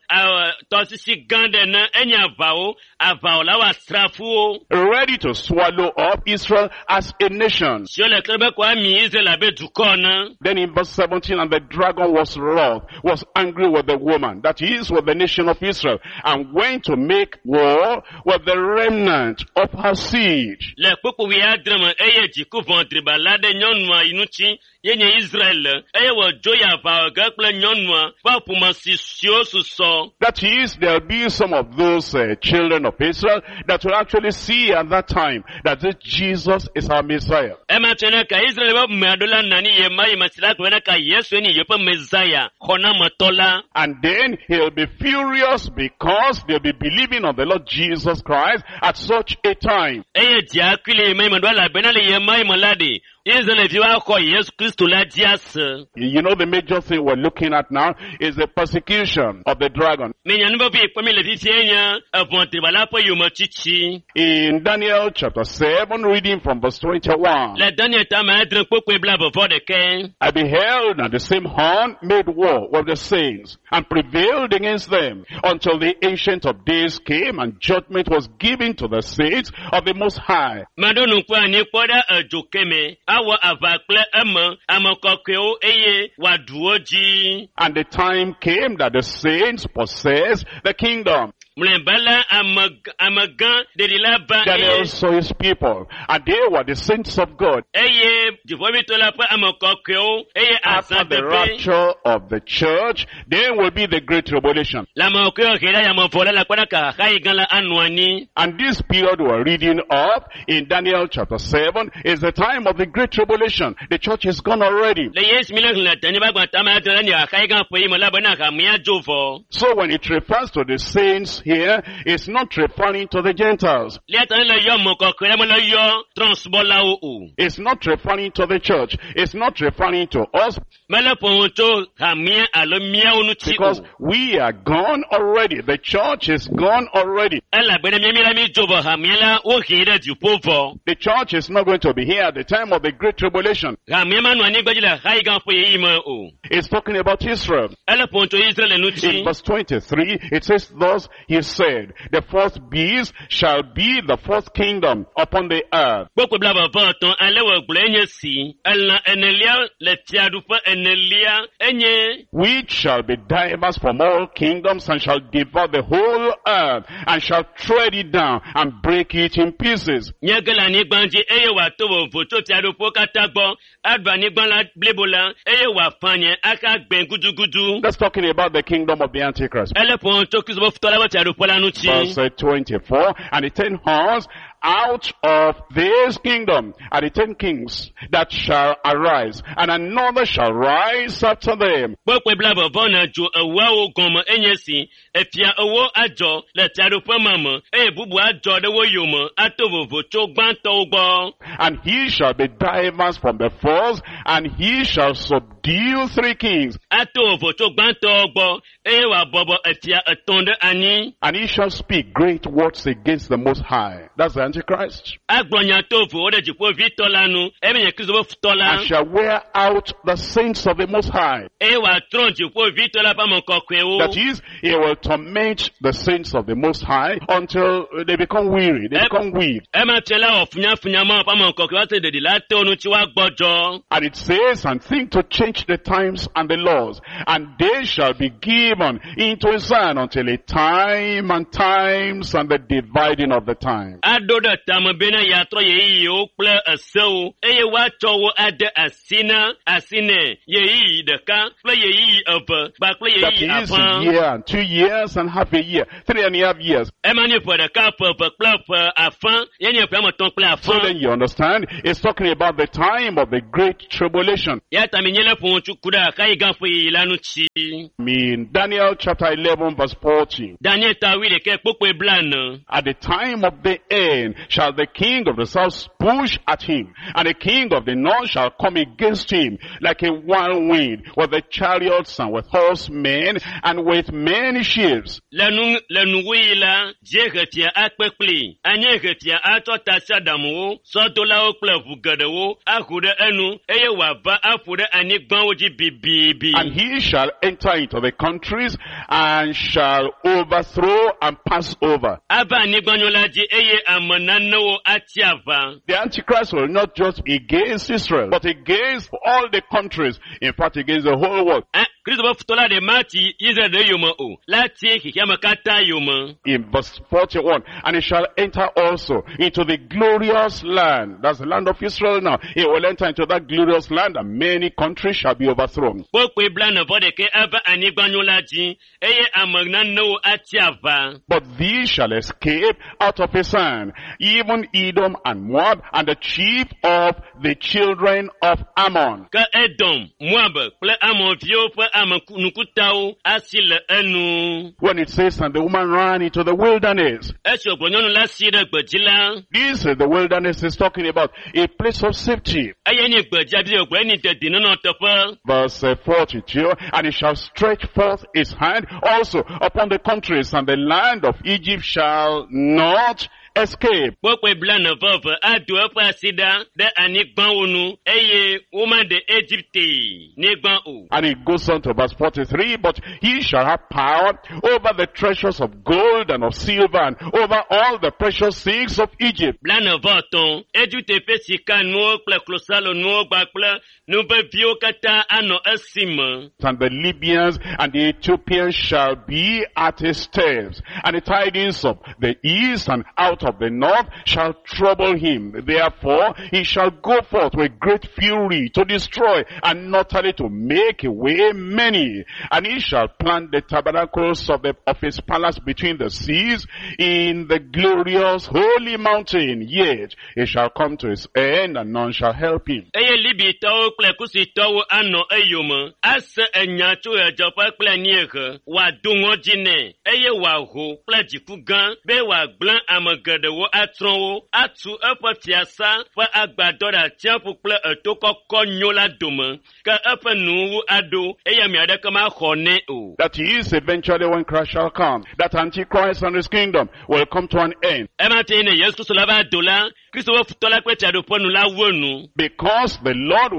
A: tɔsisi gã ɖe ene enye aʋawo, aʋawɔlawo asrafowo.
C: Ready to swallow up Israel as a nation.
A: Siwo le klẽ be ko ami Israel abe dukɔ ene.
C: Then in verse 17, and the dragon was wroth, was angry with the woman, that is with the nation of Israel, and went to make war with the remnant of her seed.
A: Le kpukpu wuiadre me eye dziku ʋɔ̃driba la ɖe nyɔnua yi ŋuti ye nye Israel eye wòdzo yi aʋa ge kple nyɔnua ƒe ƒome si siwo susɔ.
C: That is, there'll be some of those children of Israel that will actually see at that time that this Jesus is our Messiah.
A: Ema tse ne ka Israel ƒe ame aɖewo la nɔ anyi ɣe ma ɣi me si la gblɔ bena ka Yesu nye yeƒe Messiah xɔnametɔ la.
C: And then he'll be furious because they'll be believing on the Lord Jesus Christ at such a time.
A: Eye dzia kui le ɣe ma ɣi me ɖo elabena le ɣe ma ɣi me la ɖe Israelviwo axɔ Yesu Kristo la dzi ase.
C: You know, the major thing we're looking at now is the persecution of the dragon.
A: Minya nu vevi kpɔm mi le fifia nye eʋɔ̃driba la ƒe yometsitsi.
C: In Daniel chapter 7, reading from verse 21.
A: Le Daniel tame adre kpokpoe blaeve vɔ ɖeke.
C: I beheld, and the same horn made war with the saints, and prevailed against them, until the Ancient of Days came, and judgment was given to the saints of the Most High.
A: Meɖo ŋku anyi kpɔ ɖe edzo keme, awɔ aʋa kple eme ame kɔkɔewo eye wòaɖu wo dzi.
C: And the time came that the saints possessed the kingdom.
A: Mlɔeba la ame amegã ɖeɖi la va
C: Daniel
A: eye
C: saw his people, and they were the saints of God.
A: Eye dziƒoʋĩtɔ la ƒe ame kɔkɔewo eye
C: After
A: azã
C: the
A: teƒe.
C: rapture of the church, then will be the great tribulation.
A: Le ame kɔkɔewo he ɖe yame vɔ la le akpa ɖeka xaxayi gã la anɔ anyi.
C: And this period we're reading of in Daniel chapter 7 is the time of the great tribulation. The church is gone already.
A: Le Yesu mi le xlẽ Daniel ƒe agbalẽ tame adre la nye xaxayi gã ƒe yi me la bena hamea dzo vɔ.
C: So when it refers to the saints here, it's not referring to the Gentiles.
A: Le ya ta ne le yɔ ame kɔkɔe la mele yɔ trɔ̃subɔlawo o.
C: It's not referring to the church. It's not referring to us
A: Mele ƒo nu tso hamea alo míawo ŋuti o.
C: because we are gone already. The church is gone already.
A: Elabena míami la mi dzo vɔ hamea la wohee ɖe dziƒo vɔ.
C: The church is not going to be here at the time of the great tribulation.
A: Hamea manɔ anyigba dzi le xaxayi gã ƒe ɣeyiɣi me o.
C: It's talking about Israel.
A: Ele ƒo nu tso Israel
C: In
A: ŋuti.
C: verse 23, it says, thus he he said, The fourth beast shall be the fourth kingdom upon the earth,
A: Kpukpui 33 ale wògblɔe nye si elã enelia le fiaɖuƒe enelia enye
C: which shall be diverse from all kingdoms and shall devour the whole earth and shall tread it down and break it in pieces.
A: nye ge le anyigba dzi eye wòato vovo tso fiaɖuƒewo katã gbɔ aɖu anyigba la blibo la eye wòafa nye aka gbẽ gudugudu.
C: That's talking about the kingdom of the Antichrist.
A: Ele ƒom tso Kristo ƒe futɔ la ƒe fiaɖuƒe la ŋuti.
C: Verse 24, and the 10 horns out of this kingdom are the 10 kings that shall arise, and another shall rise after them.
A: Kpukpui 20 na dzo ewoawo gɔme enye si efia ewo adzɔ le fiaɖuƒe ma me eye bubu adzɔ ɖe wo yome ato vovo tso gbãtɔwo gbɔ.
C: And he shall be diverse from the first, and he shall subdue three kings,
A: Ato vovo tso gbãtɔwo gbɔ eye wòabɔbɔ efia etɔ̃ ɖe anyi.
C: and he shall speak great words against the Most High. That's the Antichrist.
A: Agblɔ nya tovowo ɖe dziƒovitɔ la nu eye menye Kristo ƒe futɔ la.
C: And shall wear out the saints of the Most High.
A: Eye wòatrɔ dziƒovitɔ la ƒe ame kɔkɔewo.
C: That is, he will torment the saints of the Most High until they become weary, they become weak.
A: Ema fia la wɔ funyafunya ma ƒe ame kɔkɔewo ase ɖeɖi la te wo ŋuti woagbɔdzɔ.
C: And it says, and think to change the times and the laws, and they shall be given into his hand until a time and times and the dividing of the time.
A: Aɖo ɖe tame bena yeatrɔ ɣeyiɣiwo kple esewo eye woatsɔ wo ade asi na asi nɛ ɣeyiɣi ɖeka kple ɣeyiɣi eve kpakple
C: That
A: ɣeyiɣi
C: is a
A: afã.
C: year and 2 years and half a year, 3.5 years.
A: Ema nye ƒe ɖeka, ƒe eve kple ƒe afã, ye nye ƒe ame etɔ̃ kple
C: So
A: afã.
C: then you understand, it's talking about the time of the great tribulation.
A: Ya ta mi nye le ƒo ŋutsu ku ɖe xaxi gã ƒe ɣeyiɣi la ŋuti.
C: I mean, Daniel chapter 11 verse 40.
A: Daniel ta 11 kpukpui 40.
C: At the time of the end shall the king of the south push at him, and the king of the north shall come against him like a wild wind, with the chariots and with horsemen and with many ships.
A: Le nu le nuwuɣi la, dziehefia akpe kpli, anyiehefia atsɔ tasiaɖamuwo, sɔdolawo kple ʋu geɖewo aho ɖe enu eye wòava aƒo ɖe anyigbawo dzi bibibi.
C: And he shall enter into the countries and shall overthrow and pass over.
A: Ava anyigbanyo la dzi eye ame nanewo atsi aʋa.
C: The Antichrist will not just be against Israel, but against all the countries, in fact against the whole world.
A: Kristo ƒe futɔ la ɖe matsi Israel ɖe yome o, la tsi xexeame katã yome.
C: In verse 41, and he shall enter also into the glorious land. That's the land of Israel now. He will enter into that glorious land and many countries shall be overthrown.
A: Kpukpui 46 ava anyigbanyo la dzi eye ame nanewo atsi aʋa.
C: But these shall escape out of his hand, even Edom and Moab and the chief of the children of Ammon.
A: Ke Edom, Moab kple Amonviwo ƒe ame nukutawo asi le enu.
C: When it says, and the woman ran into the wilderness,
A: Esi wògblɔ nyɔnu la si ɖe gbedzi la,
C: this is the wilderness is talking about, a place of safety.
A: eye nye gbedzi abi wògblɔ enyi dedinɔnɔ teƒe.
C: Verse 42, and he shall stretch forth his hand also upon the countries, and the land of Egypt shall not escape.
A: Kpukpui 42 ado eƒe asi ɖa ɖe anyigbawo nu eye womaɖe Egipte nyigba o.
C: And it goes on to verse 43, but he shall have power over the treasures of gold and of silver and over all the precious things of Egypt.
A: 43 Egipte ƒe sika nuwo kple klosalo nuwo kpakple nu veviwo katã anɔ esime.
C: And the Libyans and the Ethiopians shall be at his steps, and the tidings of the east and out of the north shall trouble him. Therefore he shall go forth with great fury to destroy and not utterly to make away many. And he shall plant the tabernacles of his palace between the seas in the glorious holy mountain. Yet it shall come to his end and none shall help him.
A: Eye Libitɔwo kple Kusitɔwo anɔ eyome ase enya tso ɣedzeƒe kple anyiehe, wòado ŋɔdzi nɛ eye wòaho kple dziku gã be wòagblẽ ame geɖewo atsrɔ̃ wo, atu eƒe fiasa ƒe agbadɔ ɖe atsiaƒu kple eto kɔkɔ nyo la dome, ke eƒe nuwuwu aɖo eye ame aɖeke maxɔ nɛ o.
C: That is eventually when Christ shall come, that Antichrist and his kingdom will come to an end.
A: Ema te ne Yesu Kristo la va do la, Kristo ƒe futɔ la kple fiaɖuƒe nu la wu enu.
C: Because the Lord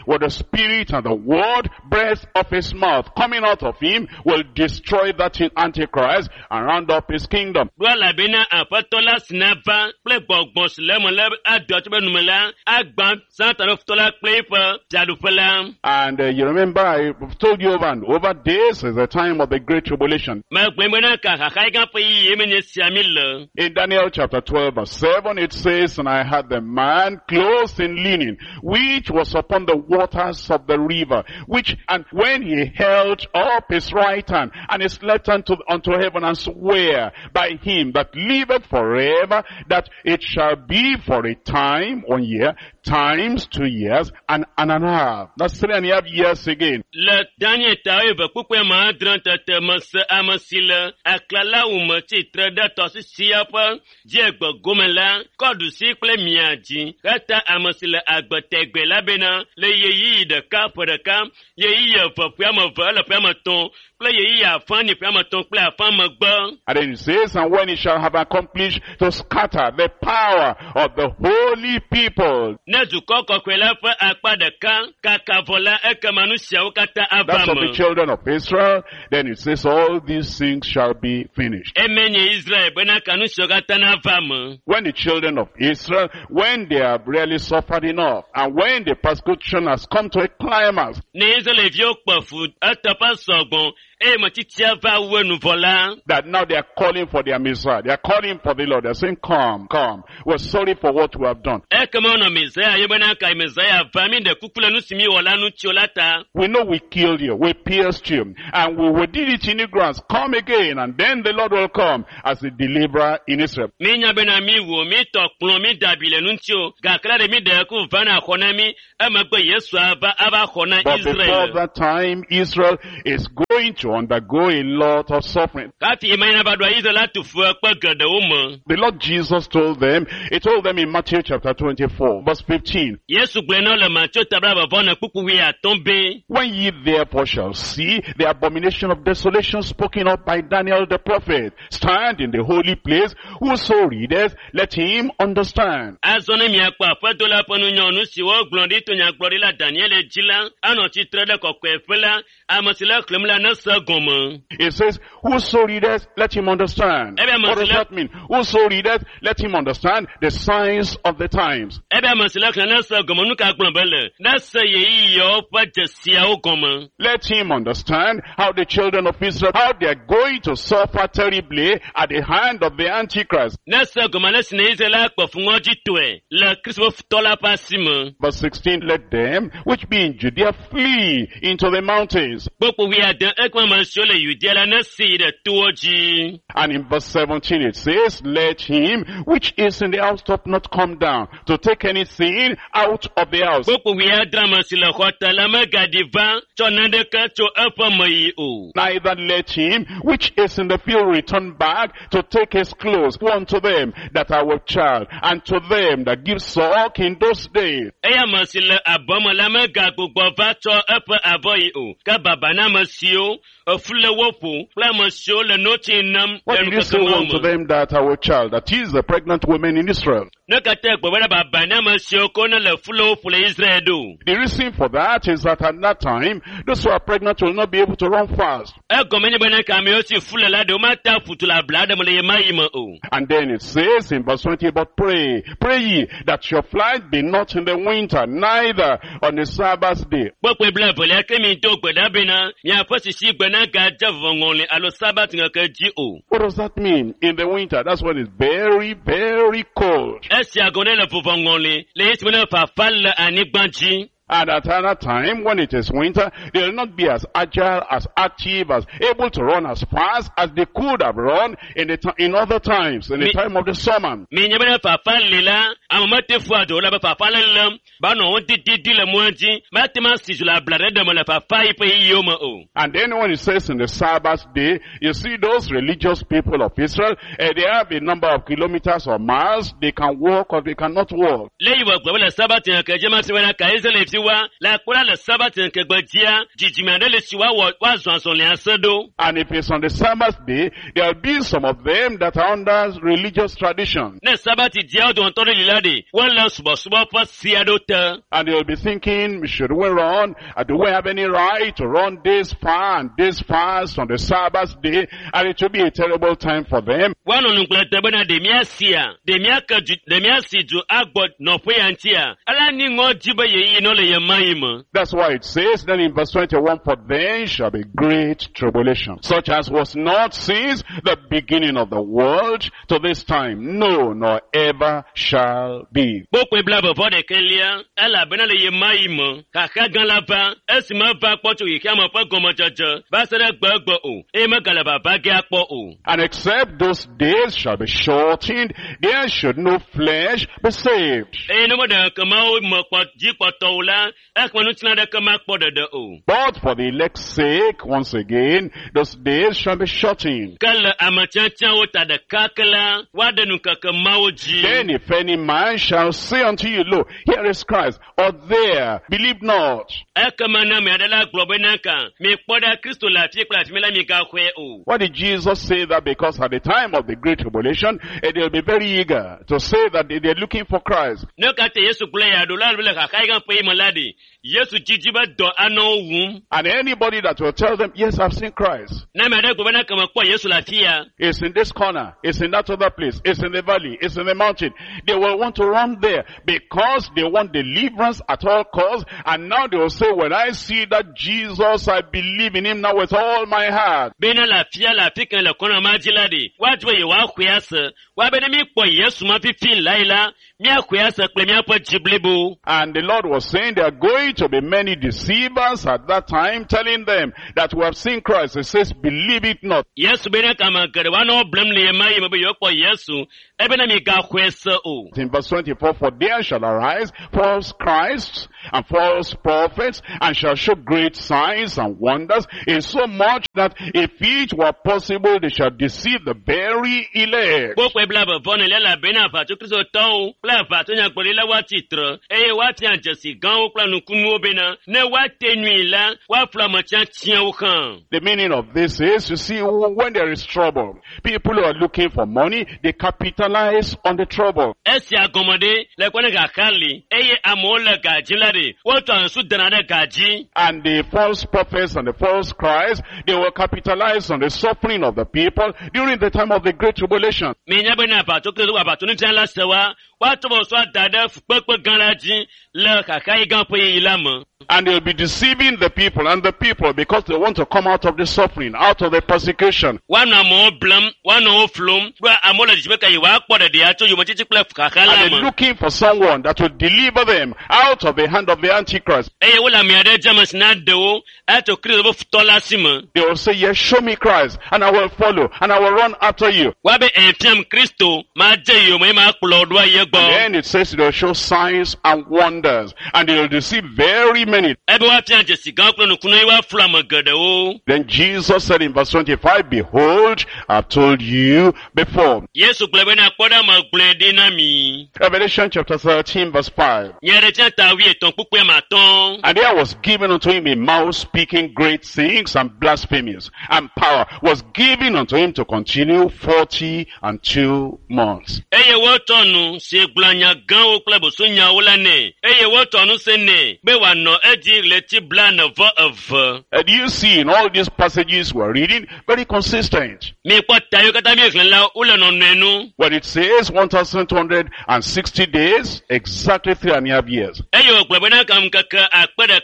C: with the Spirit and the word breath of his mouth coming out of him will destroy that Antichrist and round up his kingdom.
A: Ɖo elabena aƒetɔ la si na va kple gbɔgbɔ si le eme la ado tso be nume la agbã Satan ƒe futɔ la kple eƒe fiaɖuƒe la.
C: And you remember I told you over and over, this is the time of the great tribulation.
A: Megblɔe bena ka xaxa gã ƒe yiyi me nye sia mi le.
C: In Daniel chapter 12 verse 7 it says, And I had the man clothed in linen, which was upon the waters of the river, which, and when he held up his right hand and his left hand unto heaven, and swear by him that liveth forever, that it shall be for a time, 1 year, times 2 years, and a half. That's 3.5 years again.
A: Le Daniel ta eve kpukpue ma adre tete me se ame si le aklalawu me tsitre ɖe tɔsisia ƒe dziegbe gome la kɔ ɖusi kple mia dzi heta ame si le agbe tegbe la bena le ɣeyiɣi ɖeka ƒe ɖeka, ɣeyiɣi eve ƒe ame eve ele ƒe ame etɔ̃ kple ɣeyiɣi afã ni ƒe ame etɔ̃ kple afã megbe.
C: And then it says, And when he shall have accomplished to scatter the power of the holy people.
A: Ne dukɔ kɔkɔe la ƒe akpa ɖeka kaka vɔ la ekema nu siawo katã ava
C: That's of the
A: me.
C: children of Israel. Then it says, all these things shall be finished.
A: Eme nye Israel bena ka nu siawo katã nava me.
C: When the children of Israel, when they have really suffered enough, and when the persecution has come to a climax,
A: Ne Israelviwo kpe fu eteƒe sɔgbɔ eye metitia va wu enu vɔ la,
C: that now they are calling for their Messiah. They are calling for the Lord. They are saying, come, come. We're sorry for what we have done.
A: ekema wonɔ Messiah yɔ bena ka Messiah va mi ɖe kuku le nu si mi wɔ la ŋuti o la ta.
C: We know we killed you, we pierced you, and we did it in ignorance. Come again, and then the Lord will come as a deliverer in Israel.
A: Mi nya bena mi wò, mi tɔ kplɔ, mi da abi le nu ŋuti o. Gake la ɖe mi ɖe ku va na xɔ na mi, emegbe Yesu ava ava xɔ na
C: But before
A: Israel.
C: that time, Israel is going to undergo a lot of suffering.
A: Hafi ema yina va ɖoa Israel atu fu ekpe geɖewo me.
C: The Lord Jesus told them, he told them in Matthew chapter 24, verse 15,
A: Yesu gblɔe na wo le Mateo ta blaeve vɔ ene kpukpu wuiatɔ̃ be,
C: When ye therefore shall see the abomination of desolation spoken of by Daniel the prophet, stand in the holy place, whoso readeth, let him understand.
A: Azɔ ne miakpɔ aƒeto la ƒe nunyɔnu si wogblɔ ɖi to nyagblɔɖila Daniel dzi la, anɔ tsitre ɖe kɔkɔeƒe la, ame si le xlẽm la nese gɔme.
C: It says, whoso readeth, let him understand.
A: Ebe
C: What does
A: masile-
C: that mean? Whoso readeth, let him understand the signs of the times.
A: Ebe ame si le xlẽm nese gɔme, nu ka gblɔm be le? Nese ɣeyiɣiawo ƒe dzesiawo gɔme.
C: Let him understand how the children of Israel, how they are going to suffer terribly at the hand of the Antichrist.
A: Nese gɔme ale si ne Israel akpe fu ŋɔdzitɔe le Kristo ƒe futɔ la ƒe asi me.
C: Verse 16, let them which be in Judea flee into the mountains.
A: Kpukpu wuiade, ekema ame siwo le Yudea la nesi yi ɖe towo dzi.
C: And in verse 17 it says, let him which is in the housetop not come down to take anything out of the house.
A: Kpukpu wuiadre, ame si le xɔ te la megaɖi va tsɔ naneke tso eƒe me yi o.
C: Neither let him which is in the field return back to take his clothes. Woe unto them that are with child, and to them that give suck in those days.
A: Eya ame si le abɔ me la megagbugbɔ va tsɔ eƒe avɔ yi o. Ke baba na ame siwo efu le wo ƒo kple ame siwo le notsi nam
C: What
A: le
C: did you say
A: nukeke
C: woe unto
A: me.
C: them that are with child? That is the pregnant women in Israel.
A: Ne katã gblɔ bena baba na ame siwo ko ne le fu le wo ƒo le Israel ɖo.
C: The reason for that is that at that time, those who are pregnant will not be able to run fast.
A: Egɔme nye bena ka amewo si fu le la ɖewo mate ƒu tu le abla ɖe me le ɣemaɣi me o.
C: And then it says in verse 20, but pray, pray ye that your flight be not in the winter, neither on the Sabbath day.
A: Kpukpui blaevelia ke mi do gbe ɖa bena miaƒe sisi gbe nagadze vɔvɔŋɔli alo Sabat ŋkeke dzi o.
C: What does that mean? In the winter, that's when it's very, very cold.
A: Esia gɔme ne le vɔvɔŋɔli le esime ne fafa le anyigba dzi.
C: And at another time, when it is winter, they'll not be as agile, as active, as able to run as fast as they could have run in the in other times, in the time of the summer.
A: Mi nye bena fafa li la, ame mete fu ado la be fafa le lém, ba nɔ wo dididi le mɔa dzi, mate ma si zu le abla ɖe ɖe me le fafa yi ƒe yiyiwo me o.
C: And then when it says in the Sabbath day, you see those religious people of Israel, they have a number of kilometers or miles, they can walk or they cannot walk.
A: Le yi wɔ gblɔ be le Sabat ŋkeke dzi ma fi bena ka Israelviwo fi wa le akpɔ ɖa le sabati ŋkegbe dzia dzidzime aɖe le si woawɔ woazɔ azɔlia se ɖo.
C: And if it's on the Sabbath day, there'll be some of them that are under religious tradition.
A: Ne sabati dzia wo dometɔ ɖe li la ɖe wole subɔsubɔ ƒe si aɖewo te.
C: And they'll be thinking, should we run? Do we have any right to run this far and this fast on the Sabbath day? And it will be a terrible time for them.
A: Woanɔ nugblẽ de bena ɖe míasia, ɖe míake du, ɖe míasi du agbɔ nɔƒe ya ŋutia. Ele ni ŋɔ dzi be yeyi nɔ le ye ma yi me.
C: That's why it says then in verse 21, for then shall be great tribulation, such as was not since the beginning of the world to this time, no, nor ever shall be.
A: Kpokpoe bla vɔvɔ ɖekɛlia, elabena le ye ma yi me, xaxa gã la va, esi meva kpɔ tso xexeame ƒe gɔmedzedze va se ɖe gbegbe o, eye megale vava ge akpɔ o.
C: And except those days shall be shortened, there should no flesh be saved.
A: Eye ne meɖe ŋkeke me kpɔ dzikpɔtɔ o la, ekema ŋutilã ɖeke makpɔ ɖeɖe o.
C: But for the elect's sake, once again, those days shall be shortened.
A: Ke le ame tiatiawo ta ɖeka ke la, woaɖe nukeke mawo dzi.
C: Then if any man shall say unto you, Lo, here is Christ, or there, believe not.
A: Ekema ne ame aɖe la gblɔ bena ka, mikpɔ ɖa Kristo le afi kple afi mi la migaxɔe o.
C: Why did Jesus say that? Because at the time of the great tribulation, they'll be very eager to say that they're looking for Christ.
A: Ne katã Yesu gblɔ ya ɖo la le xaxa yi gã ƒe yi me la ɖi, Yesu dzidzi be dɔ anɔ wo wum.
C: And anybody that will tell them, yes, I've seen Christ.
A: Ne ame aɖe gblɔ bena ke mekpɔ Yesu le afi ya,
C: It's in this corner. It's in that other place. It's in the valley. It's in the mountain. They will want to run there because they want deliverance at all costs. And now they will say, when I see that Jesus, I believe in him now with all my heart.
A: bena le afia le afi ke le kɔna ma dzi la ɖi, woadzi be yewoaxɔe ase. Woabe ne míkpɔ Yesu ma fifi la yi la, míaxɔe ase kple míaƒe dzi blibo.
C: And the Lord was saying there are going to be many deceivers at that time, telling them that we have seen Christ. He says, believe it not.
A: Yesu bena kame geɖe woanɔ wo blem le ye ma yi me be yewoakpɔ Yesu, ebena migaxɔe se o.
C: In verse 24, for there shall arise false Christs and false prophets and shall show great signs and wonders, in so much that if it were possible, they shall deceive the very elect.
A: Kpokpoe bla vevɔ ne le elabena aʋatso kristotɔwo kple aʋatso nyagblɔɖila woatsi tre eye woafia dzesi gãwo kple nukunuwo bena ne woate nui la, woaflu ame tiatiawo hã.
C: The meaning of this is, you see, when there is trouble, people who are looking for money, they capitalize on the trouble.
A: Esia gɔme ɖe le kpe ne xaxa li eye amewo le ga dzi la ɖe, wotɔ nsu dana ɖe ga dzi.
C: And the false prophets and the false Christs, they will capitalize on the suffering of the people during the time of the great tribulation.
A: Minya bena aʋatso kristo aʋatso nufiala se wa, woatsɔ wo sɔ da ɖe fukpekpe gã la dzi le xaxa yi gã ƒe yiyi la me.
C: And they'll be deceiving the people and the people because they want to come out of the suffering, out of the persecution.
A: Woanɔ amewo blem, woanɔ wo flum, kple amewo le dzidzime ke yewoakpɔ ɖeɖia tso yometiti kple xaxa la
C: And they're
A: me.
C: looking for someone that will deliver them out of the hand of the Antichrist.
A: Eye wole ame aɖe dze ame si na ɖe wo atso Kristo ƒe futɔ la si me.
C: They will say, yes, show me Christ and I will follow and I will run after you.
A: Woabe efiam Kristo madze yome eye makplɔ wo ɖo ayi
C: And
A: egbɔ.
C: then it says they'll show signs and wonders and they'll deceive very many.
A: Ebe woafia dzesi gãwo kple nukunu eye woaflu ame geɖewo.
C: Then Jesus said in verse 25, behold, I've told you before.
A: Yesu gblɔ bena kpɔ ɖa megblɔe ɖi na mi.
C: Revelation chapter 13 verse 5.
A: Nyaɖeɖefia ta wuietɔ̃ kpukpui ame atɔ̃.
C: And there was given unto him a mouth speaking great things and blasphemies, and power was given unto him to continue 42 months.
A: Eye wotɔ nu si gblɔ nya gãwo kple bosonyawo la nɛ. Eye wotɔ nu se nɛ be wòanɔ edzi ɣleti 42.
C: And you see in all these passages we're reading, very consistent.
A: Mikpɔ ta yiwo katã míexlẽ la, wole nɔnɔe nu.
C: When it says 1,260 days, exactly 3.5 years.
A: Eye wògblɔ bena kam ŋkeke 1000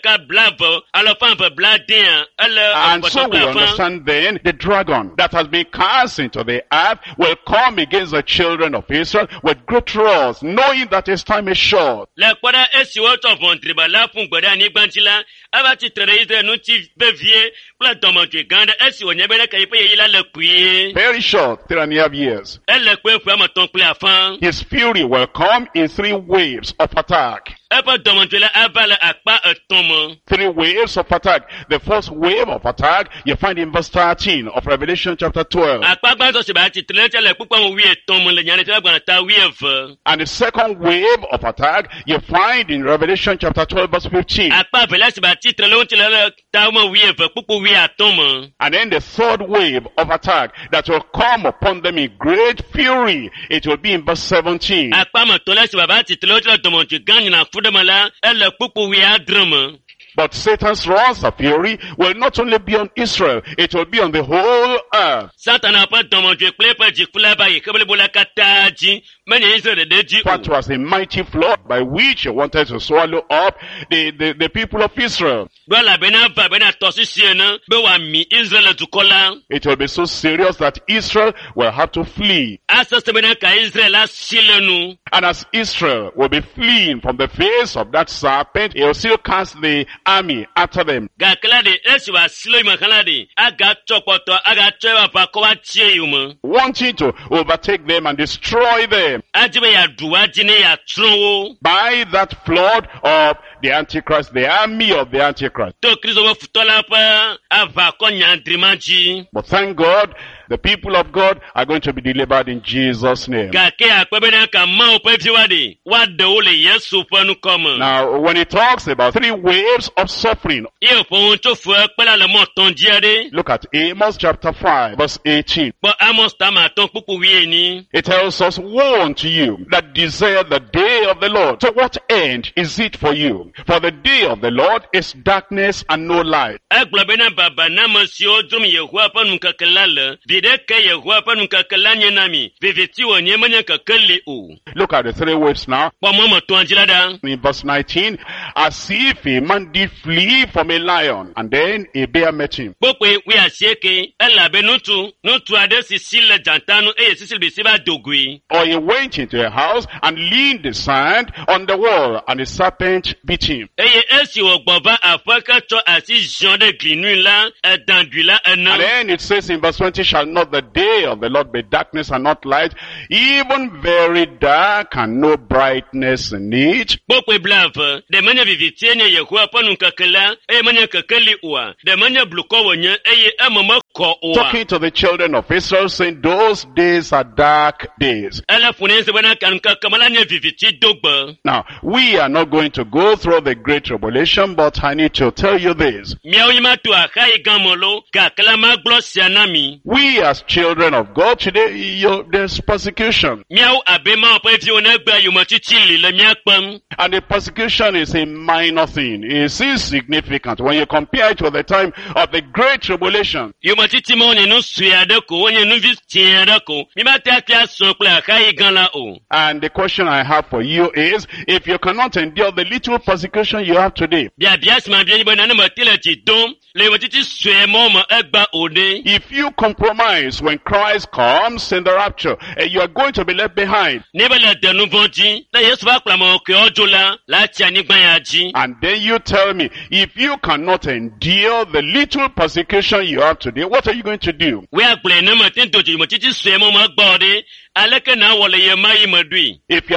A: 270 ele
C: And so we
A: afã.
C: understand then the dragon that has been cast into the earth will come against the children of Israel with great wrath, knowing that his time is short.
A: Le kpɔ ɖa esi wotsɔ ʋɔnudriba la ƒu gbe ɖe anyigba dzi la, eva tsitre ɖe Israel ŋuti vevie kple dɔmedzoe gã aɖe esi wònye be ɖeke yiƒe ɣeyiɣi la le kpuie.
C: Very short, 3.5 years.
A: Ele kpue ƒe ame etɔ̃ kple afã.
C: His fury will come in 3 waves of attack.
A: Eƒe dɔmedzoe la ava le akpa etɔ̃ me.
C: Three waves of attack. The first wave of attack you find in verse 13 of Revelation chapter 12.
A: Akpa gbãtɔ si ba tsitre ɖe eŋuti le kpukpua me wuietɔ̃ me le Nyaɖeɖefia gbalẽ ta wuieve.
C: And the second wave of attack you find in Revelation chapter 12 verse 15.
A: Akpa evelia si ba tsitre ɖe eŋuti le le ta me wuieve kpukpu wuiatɔ̃ me.
C: And then the third wave of attack that will come upon them in great fury, it will be in verse 17.
A: Akpa me tɔ̃lia si ba va tsitre ɖe eŋuti le dɔmedzoe gã nyina fu ɖe me la, ele kpukpu wuiadre me.
C: But Satan's wrath of fury will not only be on Israel, it will be on the whole earth.
A: Satana ƒe dɔmedzoe kple eƒe dziku la va yi xe blibo la katã dzi, menye Israel ɖeɖe dzi
C: That
A: o.
C: was a mighty flood by which he wanted to swallow up the people of Israel.
A: Ɖo elabena va bena tɔsisi ene be wòami Israel dukɔ la.
C: It will be so serious that Israel will have to flee.
A: Asese bena ka Israel asi le nu.
C: And as Israel will be fleeing from the face of that serpent, he will still cast the army after them.
A: Gake la ɖe, esi wòasi le yome hã la ɖe, agatsɔ kpɔtɔ, agatsɔ eƒe aʋakɔ va tsie yome.
C: Wanting to overtake them and destroy them
A: Adi be yeaɖu woa dzi ne yeatsrɔ̃ wo.
C: by that flood of the Antichrist, the army of the Antichrist.
A: To Kristo ƒe futɔ la ƒe aʋakɔ nyadri ma dzi.
C: But thank God, the people of God are going to be delivered in Jesus' name.
A: Gake akpe bena ka Mawu ƒe viwoa ɖe, woaɖe wo le Yesu ƒe ŋkɔ me.
C: Now, when he talks about three waves of suffering,
A: Ye wòƒo nu tso fukpekpe la le mɔ etɔ̃ dzi aɖe.
C: look at Amos chapter 5, verse 18.
A: Kpɔ Amos tame atɔ̃ kpukpu wuienyi.
C: It tells us, woe unto you that desire the day of the Lord. To what end is it for you? For the day of the Lord is darkness and no light.
A: Egblɔ bena baba na ame siwo dzrom Yehowa ƒe nukeke la le. Vi ɖeke Yehowa ƒe nukeke la nye na mi. Viviti wònye menye kekeli o.
C: Look at the three waves now.
A: Kpɔ mɔ me etɔ̃a dzi la ɖa.
C: In verse 19, as if a man did flee from a lion, and then a bear met him.
A: Kpokpoe wuiasieke elabe ŋutsu ŋutsu aɖe si si le dzata nu eye sisiblisi va do goe.
C: Or he went into a house and leaned his hand on the wall, and a serpent bit him.
A: Eye esi wògbɔ va aƒe ke tsɔ asi ziɔ ɖe gli nui la, edã ɖui la
C: And
A: ene.
C: then it says in verse 20, shall not the day of the Lord be darkness and not light, even very dark and no brightness in it?
A: Kpokpoe blaeve, ɖe menye vivitie nye Yehowa ƒe nukeke la eye menye kekeli oa? Ɖe menye blukɔ wònye eye eme mekɔ oa?
C: Talking to the children of Israel, saying those days are dark days.
A: Ele ƒo ne bena ka nukeke me la nye viviti dogbe.
C: Now, we are not going to go through the great tribulation, but I need to tell you this.
A: Miawo ma to axa yi gã me lo, gake la magblɔ sia na mi.
C: We as children of God today, there's persecution.
A: Miawo abe Mawu ƒe viwo ne egbe yometiti li le mía kpem.
C: And the persecution is a minor thing. It's insignificant when you compare it with the time of the great tribulation.
A: Yometiti ma wonye nu sue aɖe ko, wonye nu vi tiẽ aɖe ko. Mi ma te ate asɔ kple axa yi gã la o.
C: And the question I have for you is, if you cannot endure the little persecution you have today,
A: Biabia si ma bia nyi be nane mete le dzi dom le yometiti sue mɔ me egba o ɖe.
C: if you compromise when Christ comes in the rapture, you are going to be left behind.
A: Ne be le de nu vɔ̃ dzi, ne Yesu va kplɔ ame kewo dzo la, la tsi anyigba ya dzi.
C: And then you tell me, if you cannot endure the little persecution you have today, what are you going to do?
A: Woagblɔe ne mete do dzi yometiti sue mɔ me egba o ɖe, aleke na wɔ le ye ma yi me ɖui?
C: If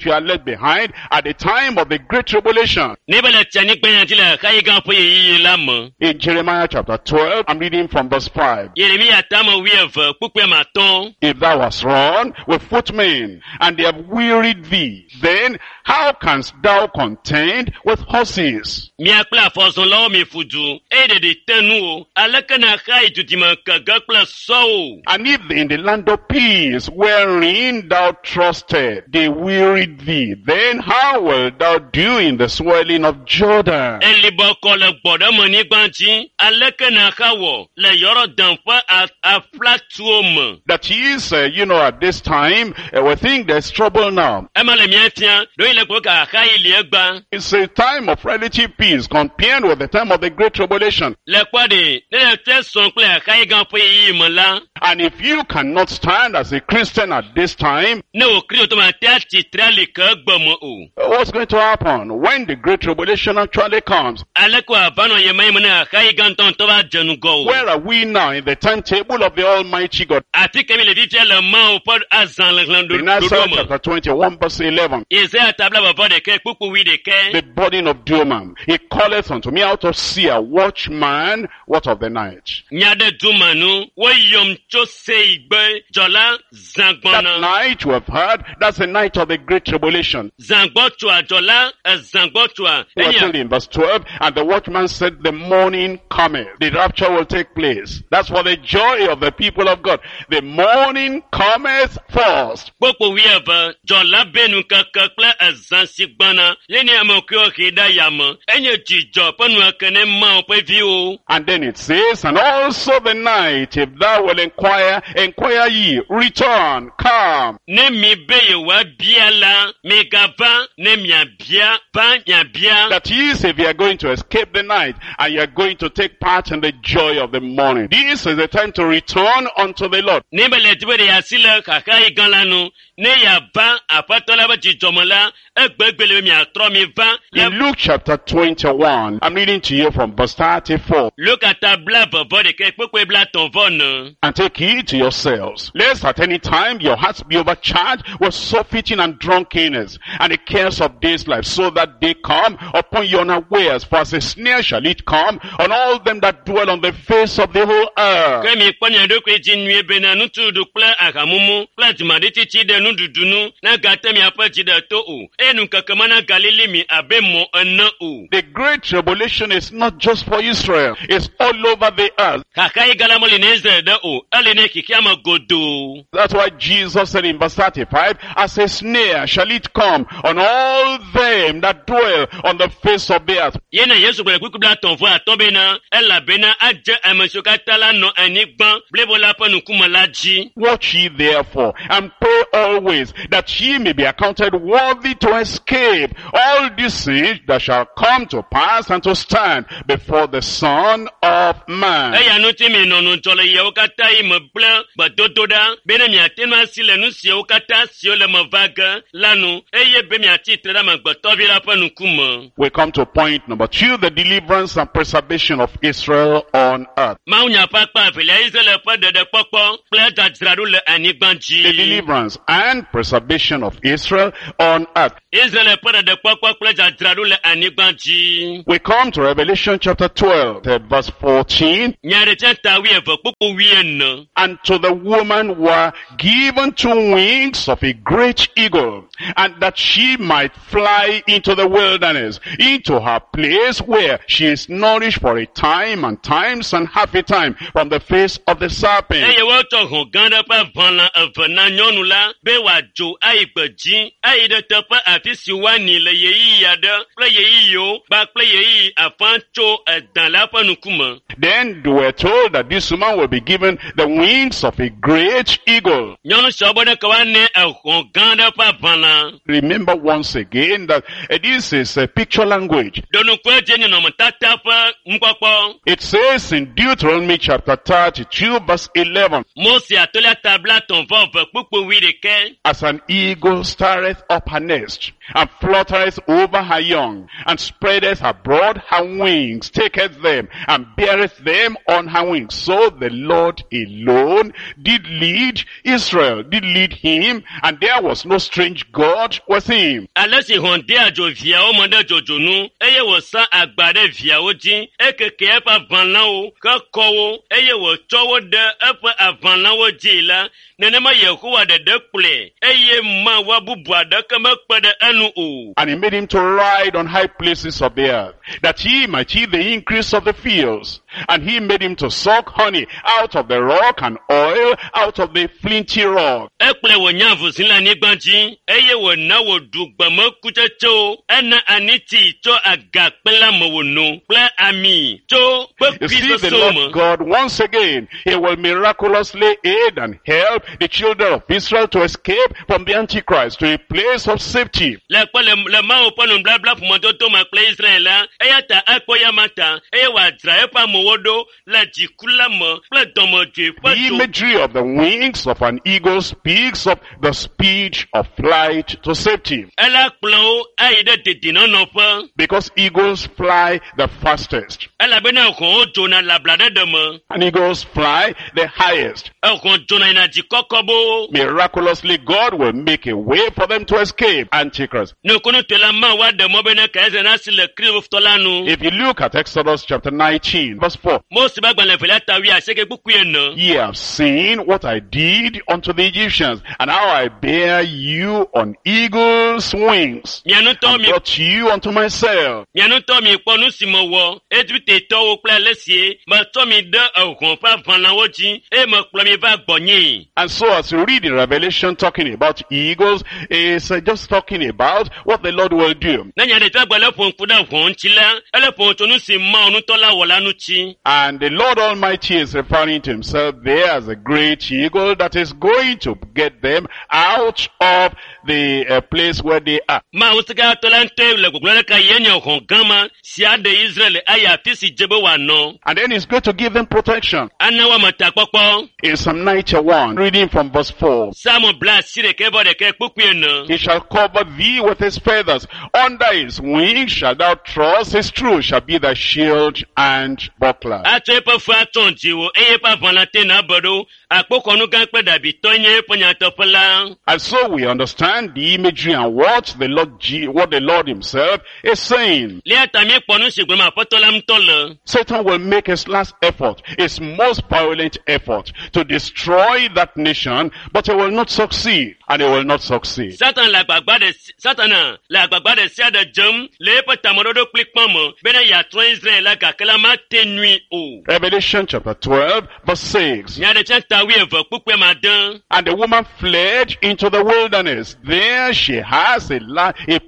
C: you are left behind at the time of the great tribulation,
A: Ne be le tsi anyigba ya dzi le xayi gã ƒe ɣeyiɣi la me.
C: in Jeremiah chapter 12, I'm reading from verse 5.
A: Yeremia tame wuieve kpukpui ame atɔ̃.
C: If thou hast run with footmen, and they have wearied thee, then how canst thou contend with horses?
A: Mia kple afɔzɔlawo mi ƒu du eye ɖeɖi te nu o. Aleke na xa yi dudime kege kple sɔwo?
C: And if in the land of peace, wherein thou trusted, they wearied thee, then how wilt thou do in the swelling of Jordan?
A: Elibɔkɔ le gbɔɖemenyigba dzi. Aleke na xa wɔ le Yɔrɔdan ƒe aflatuwo me?
C: That is, at this time, we think there's trouble now.
A: Ema le mia fia, ɖewohi le gbe ka xa yi li egba.
C: It's a time of relative peace compared with the time of the great tribulation.
A: Le kpɔ ɖe, ne le te sɔn kple xayi gã ƒe ɣeyiɣi me la,
C: And if you cannot stand as a Christian Christian at this time,
A: Ne wò kristotɔ ma te atsitre ali ke egbe me o.
C: what's going to happen when the great tribulation actually comes?
A: Aleke wòava nɔ yema yi me ne xaxayi gãtɔŋutɔ va dze ŋgɔ o.
C: Where are we now in the timetable of the Almighty God?
A: Afi ke mi le fifia le Mawu ƒe azãxexlẽ
C: In Isaiah
A: ɖoɖo me.
C: chapter 21 verse 11,
A: Yesaya ta blaeve vɔ ɖekɛ kpukpu wuiɖekɛ.
C: the burden of Dumah. He calleth unto me out of Seir, watchman, what of the night?
A: Nya ɖe Duma nu, woyɔm tso Seigbe dzɔla
C: That
A: zãgbɔna.
C: night you have heard, that's the night of the great tribulation.
A: Zãgbɔtsoa dzɔla ezãgbɔtsoa.
C: We are
A: Enye
C: told in verse 12, and the watchman said, the morning cometh. The rapture will take place. That's for the joy of the people of God. The morning cometh first.
A: kpokpo wuieve dzɔla be nukeke kple ezã si gbɔna ye nye ame kewo he ɖe yame. Enye dzidzɔ ƒe nueke ne Mawu ƒe viwo.
C: And then it says, and also the night, if thou wilt inquire, inquire ye, return, come.
A: Ne mi be yewoabia la, migava ne miabia, va miabia.
C: That is, if you are going to escape the night and you are going to take part in the joy of the morning. This is the time to return unto the Lord.
A: Ne be le di be ɖe yeasi le xaxayi gã la nu, ne yeava aƒetɔ la ƒe dzidzɔme la, egbegbe le be miatrɔ mi va le
C: In Luke chapter 21, I'm reading to you from verse 34.
A: Luka ta blaeve vɔ ɖekɛ kpukpui blaetɔ̃ vɔ ene.
C: And take heed to yourselves, lest at any time your hearts be overcharged with surfeiting and drunkenness, and the cares of this life, so that they come upon you unawares. For as a snare shall it come on all them that dwell on the face of the whole earth.
A: Ke mikpɔ mia ɖokui dzi nyuie bena nutuɖuɖu kple ahamumu kple dzimaɖitsitsi ɖe nuɖuɖu nu nagate miaƒe dzi ɖe to o eye nukeke ma nagalili mi abe mɔ ene o.
C: The great tribulation is not just for Israel, it's all over the earth.
A: Xaxayi gã la meli na Israel ɖe o, eli ne xexea me godoo.
C: That's why Jesus said in verse 35, as a snare shall it come on all them that dwell on the face of the earth.
A: Yena Yesu gblɔ le kpukpui blaetɔ̃ vɔ atɔ̃ bena elabena adze ame siwo katã la nɔ anyigba blibo la ƒe ŋkume la dzi.
C: Watch ye therefore, and pray always, that ye may be accounted worthy to escape all these things that shall come to pass and to stand before the Son of Man.
A: Eya ŋuti minɔ ŋudzɔ le yewo katã yi me kple gbedodoɖa bena miate ŋu asi le nu siawo katã siwo le me va ge la nu eye be miatsi tre ɖe amegbetɔvi la ƒe ŋkume.
C: We come to point number 2, the deliverance and preservation of Israel on earth.
A: Mawunya ƒe akpa evelia Israel ƒe ɖeɖekpɔkpɔ kple dzadzraɖo le anyigba
C: The
A: dzi.
C: deliverance and preservation of Israel on earth.
A: Israel ƒe ɖeɖekpɔkpɔ kple dzadzraɖo le anyigba dzi.
C: We come to Revelation chapter 12, verse 14.
A: Nyaɖetia ta wuieve kpukpu wuiene.
C: And to the woman were given 2 wings of a great eagle, and that she might fly into the wilderness, into her place where she is nourished for a time and times and half a time from the face of the serpent.
A: Eye wotsɔ hɔ̃ gã ɖe ƒe aʋalã eve na nyɔnu la be wòadzo ayi gbedzi ayi ɖe teƒe afi si woani le ɣeyiɣi aɖe kple ɣeyiɣiwo kpakple ɣeyiɣi afã tso edã la ƒe ŋkume.
C: Then they were told that this woman will be given the wings of a great eagle.
A: Nyɔnu siawo be ɖeke woanɛ ehɔ̃ gã ɖe ƒe aʋalã.
C: Remember once again that this is a picture language.
A: Ɖo ŋku edzi nɔnɔmetata ƒe nukpɔkpɔ.
C: It says in Deuteronomy chapter 32 verse 11,
A: Mose atolia ta blaetɔ̃ vɔ eve kpukpui wuiɖekɛ.
C: As an eagle stirreth up her nest, and fluttereth over her young, and spreadeth abroad her wings, taketh them, and beareth them on her wings. So the Lord alone did lead Israel, did lead him, and there was no strange God with him.
A: Ale si hɔ̃ dea dzo viawo me ɖe dzodzo nu eye wòsa agba ɖe viawo dzi, ekeke eƒe aʋalãwo hekɔ wo eye wòtsɔ wo ɖe eƒe aʋalãwo dzi la, nenema Yehowa ɖeɖe kplɔe eye Mawu bubu aɖeke mekpe ɖe enu o.
C: And he made him to ride on high places of the earth, that he might eat the increase of the fields. And he made him to suck honey out of the rock and oil out of the flinty rock.
A: Ekplɔe wònye avuzi le anyigba dzi eye wòna wòɖu gbemekutsetsewo, ena aniti tso agakpe la me wòno kple ami tso
C: You
A: kpekui
C: see, the
A: soso me.
C: Lord God, once again, he will miraculously aid and help the children of Israel to escape escape from the Antichrist to a place of safety.
A: Le kpe le le Mawu ƒe nubabla ƒomedodo me kple Israel la, eya ta ekpɔ ya ma ta eye wòadzra eƒe amewo ɖo le dziku la me kple dɔmedzoe
C: The
A: ƒe dzo.
C: imagery of the wings of an eagle speaks of the speed of flight to safety.
A: Ela kplɔ wo ayi ɖe dedinɔnɔƒe
C: Because eagles fly the fastest.
A: elabena hɔ̃wo dzona le ablaɖeɖe me.
C: And eagles fly the highest.
A: Ehɔ̃ dzona yina dzi kɔkɔ boo.
C: Miraculously, God will make a way for them to escape Antichrist.
A: Nukunutɔe la Mawu aɖe mɔ bena Kaisar nasi le Kristotɔ la nu.
C: If you look at Exodus chapter 19, verse 4,
A: Mose ƒe agbalẽ evelia ta wuiasieke kpukpui ene.
C: Ye have seen what I did unto the Egyptians, and how I bare you on eagle's wings,
A: Mia ŋutɔ
C: and
A: mi
C: brought you unto myself.
A: mia ŋutɔ mikpɔ nu si mewɔ Egiptetɔwo kple ale si metsɔ mi ɖe ehɔ̃ ƒe aʋalawo dzi eye mekplɔ mi va gbɔnyee.
C: And so as you read in Revelation talking about eagles, it's just talking about what the Lord will do.
A: Ne Nyaɖeɖefia gblɔ le ƒo ŋku ɖe hɔ̃ ŋuti la, ele ƒo tso nu si Mawu ŋutɔ la wɔ la ŋuti.
C: And the Lord Almighty is referring to himself there as a great eagle that is going to get them out of the place where they are.
A: Mawu Sikatɔ la ŋutɔe le gbɔgblɔ ɖeka ye nye hɔ̃ gã ma si aɖe Israel ayi afi si dze be wòanɔ.
C: And then he's going to give them protection.
A: Ana woame takpɔkpɔ.
C: In Psalm 91, reading from verse 4.
A: Psalm bla asi ɖekɛ vɔ ɖekɛ kpukpui ene.
C: He shall cover thee with his feathers. Under his wings shalt thou trust. His truth shall be thy shield and buckler.
A: Atsɔ eƒe fu atɔ dziwò eye eƒe aʋalã te na be ɖo. Akpoxɔnu gã kple ɖabitɔ nye eƒe nyateƒe la.
C: And so we understand the imagery and what the Lord, what the Lord himself is saying.
A: Lia ta míekpɔ nu si gblɔm Aƒetɔ la ŋutɔ le.
C: Satan will make his last effort, his most violent effort to destroy that nation, but he will not succeed, and he will not succeed.
A: Satan le agbagba ɖe si- Satana le agbagba ɖe sia ɖe dzem le eƒe tameɖoɖo kplikpã me bena yeatrɔ Israel la gake la mate nui o.
C: Revelation chapter 12 verse 6.
A: Nyaɖeɖefia ta wuieve kpukpui ma ade.
C: And the woman fled into the wilderness. There she has a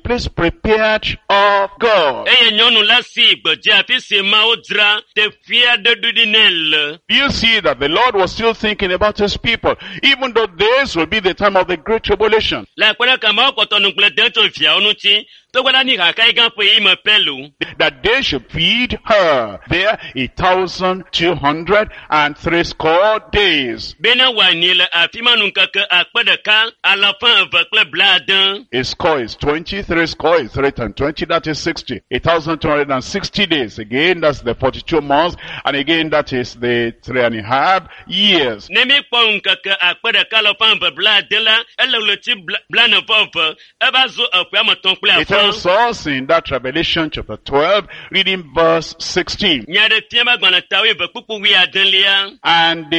C: place prepared of God.
A: Eye nyɔnu la si gbedzi afi si Mawu dzra teƒe aɖe ɖo ɖi nɛ le.
C: Do you see that the Lord was still thinking about his people, even though this will be the time of the great tribulation?
A: Le akpe ɖeka Mawu kpɔtɔ ŋugble dem tso viawo ŋuti togbɔ ɖe anyi xaxa gã ƒe ɣeyiɣi me pɛ lo.
C: That they should feed her there 1,260 days.
A: Bena wòanyi le afi ma nu ŋkeke akpe ɖeka alafa eve kple blaade.
C: A score is 20, three score is 3 times 20, that is 60. 1,260 days. Again, that's the 42 months. And again, that is the 3.5 years.
A: Ne míekpɔ ŋkeke akpe ɖeka alafa eve blaade la, ele ɣleti blaene vɔ eve, eva zu eƒe ame etɔ̃ kple
C: It
A: afã.
C: tells us in that Revelation chapter 12, reading verse 16.
A: Nyaɖefia ƒe agbalẽ ta wuieve kpukpui wuiadelia.
C: And the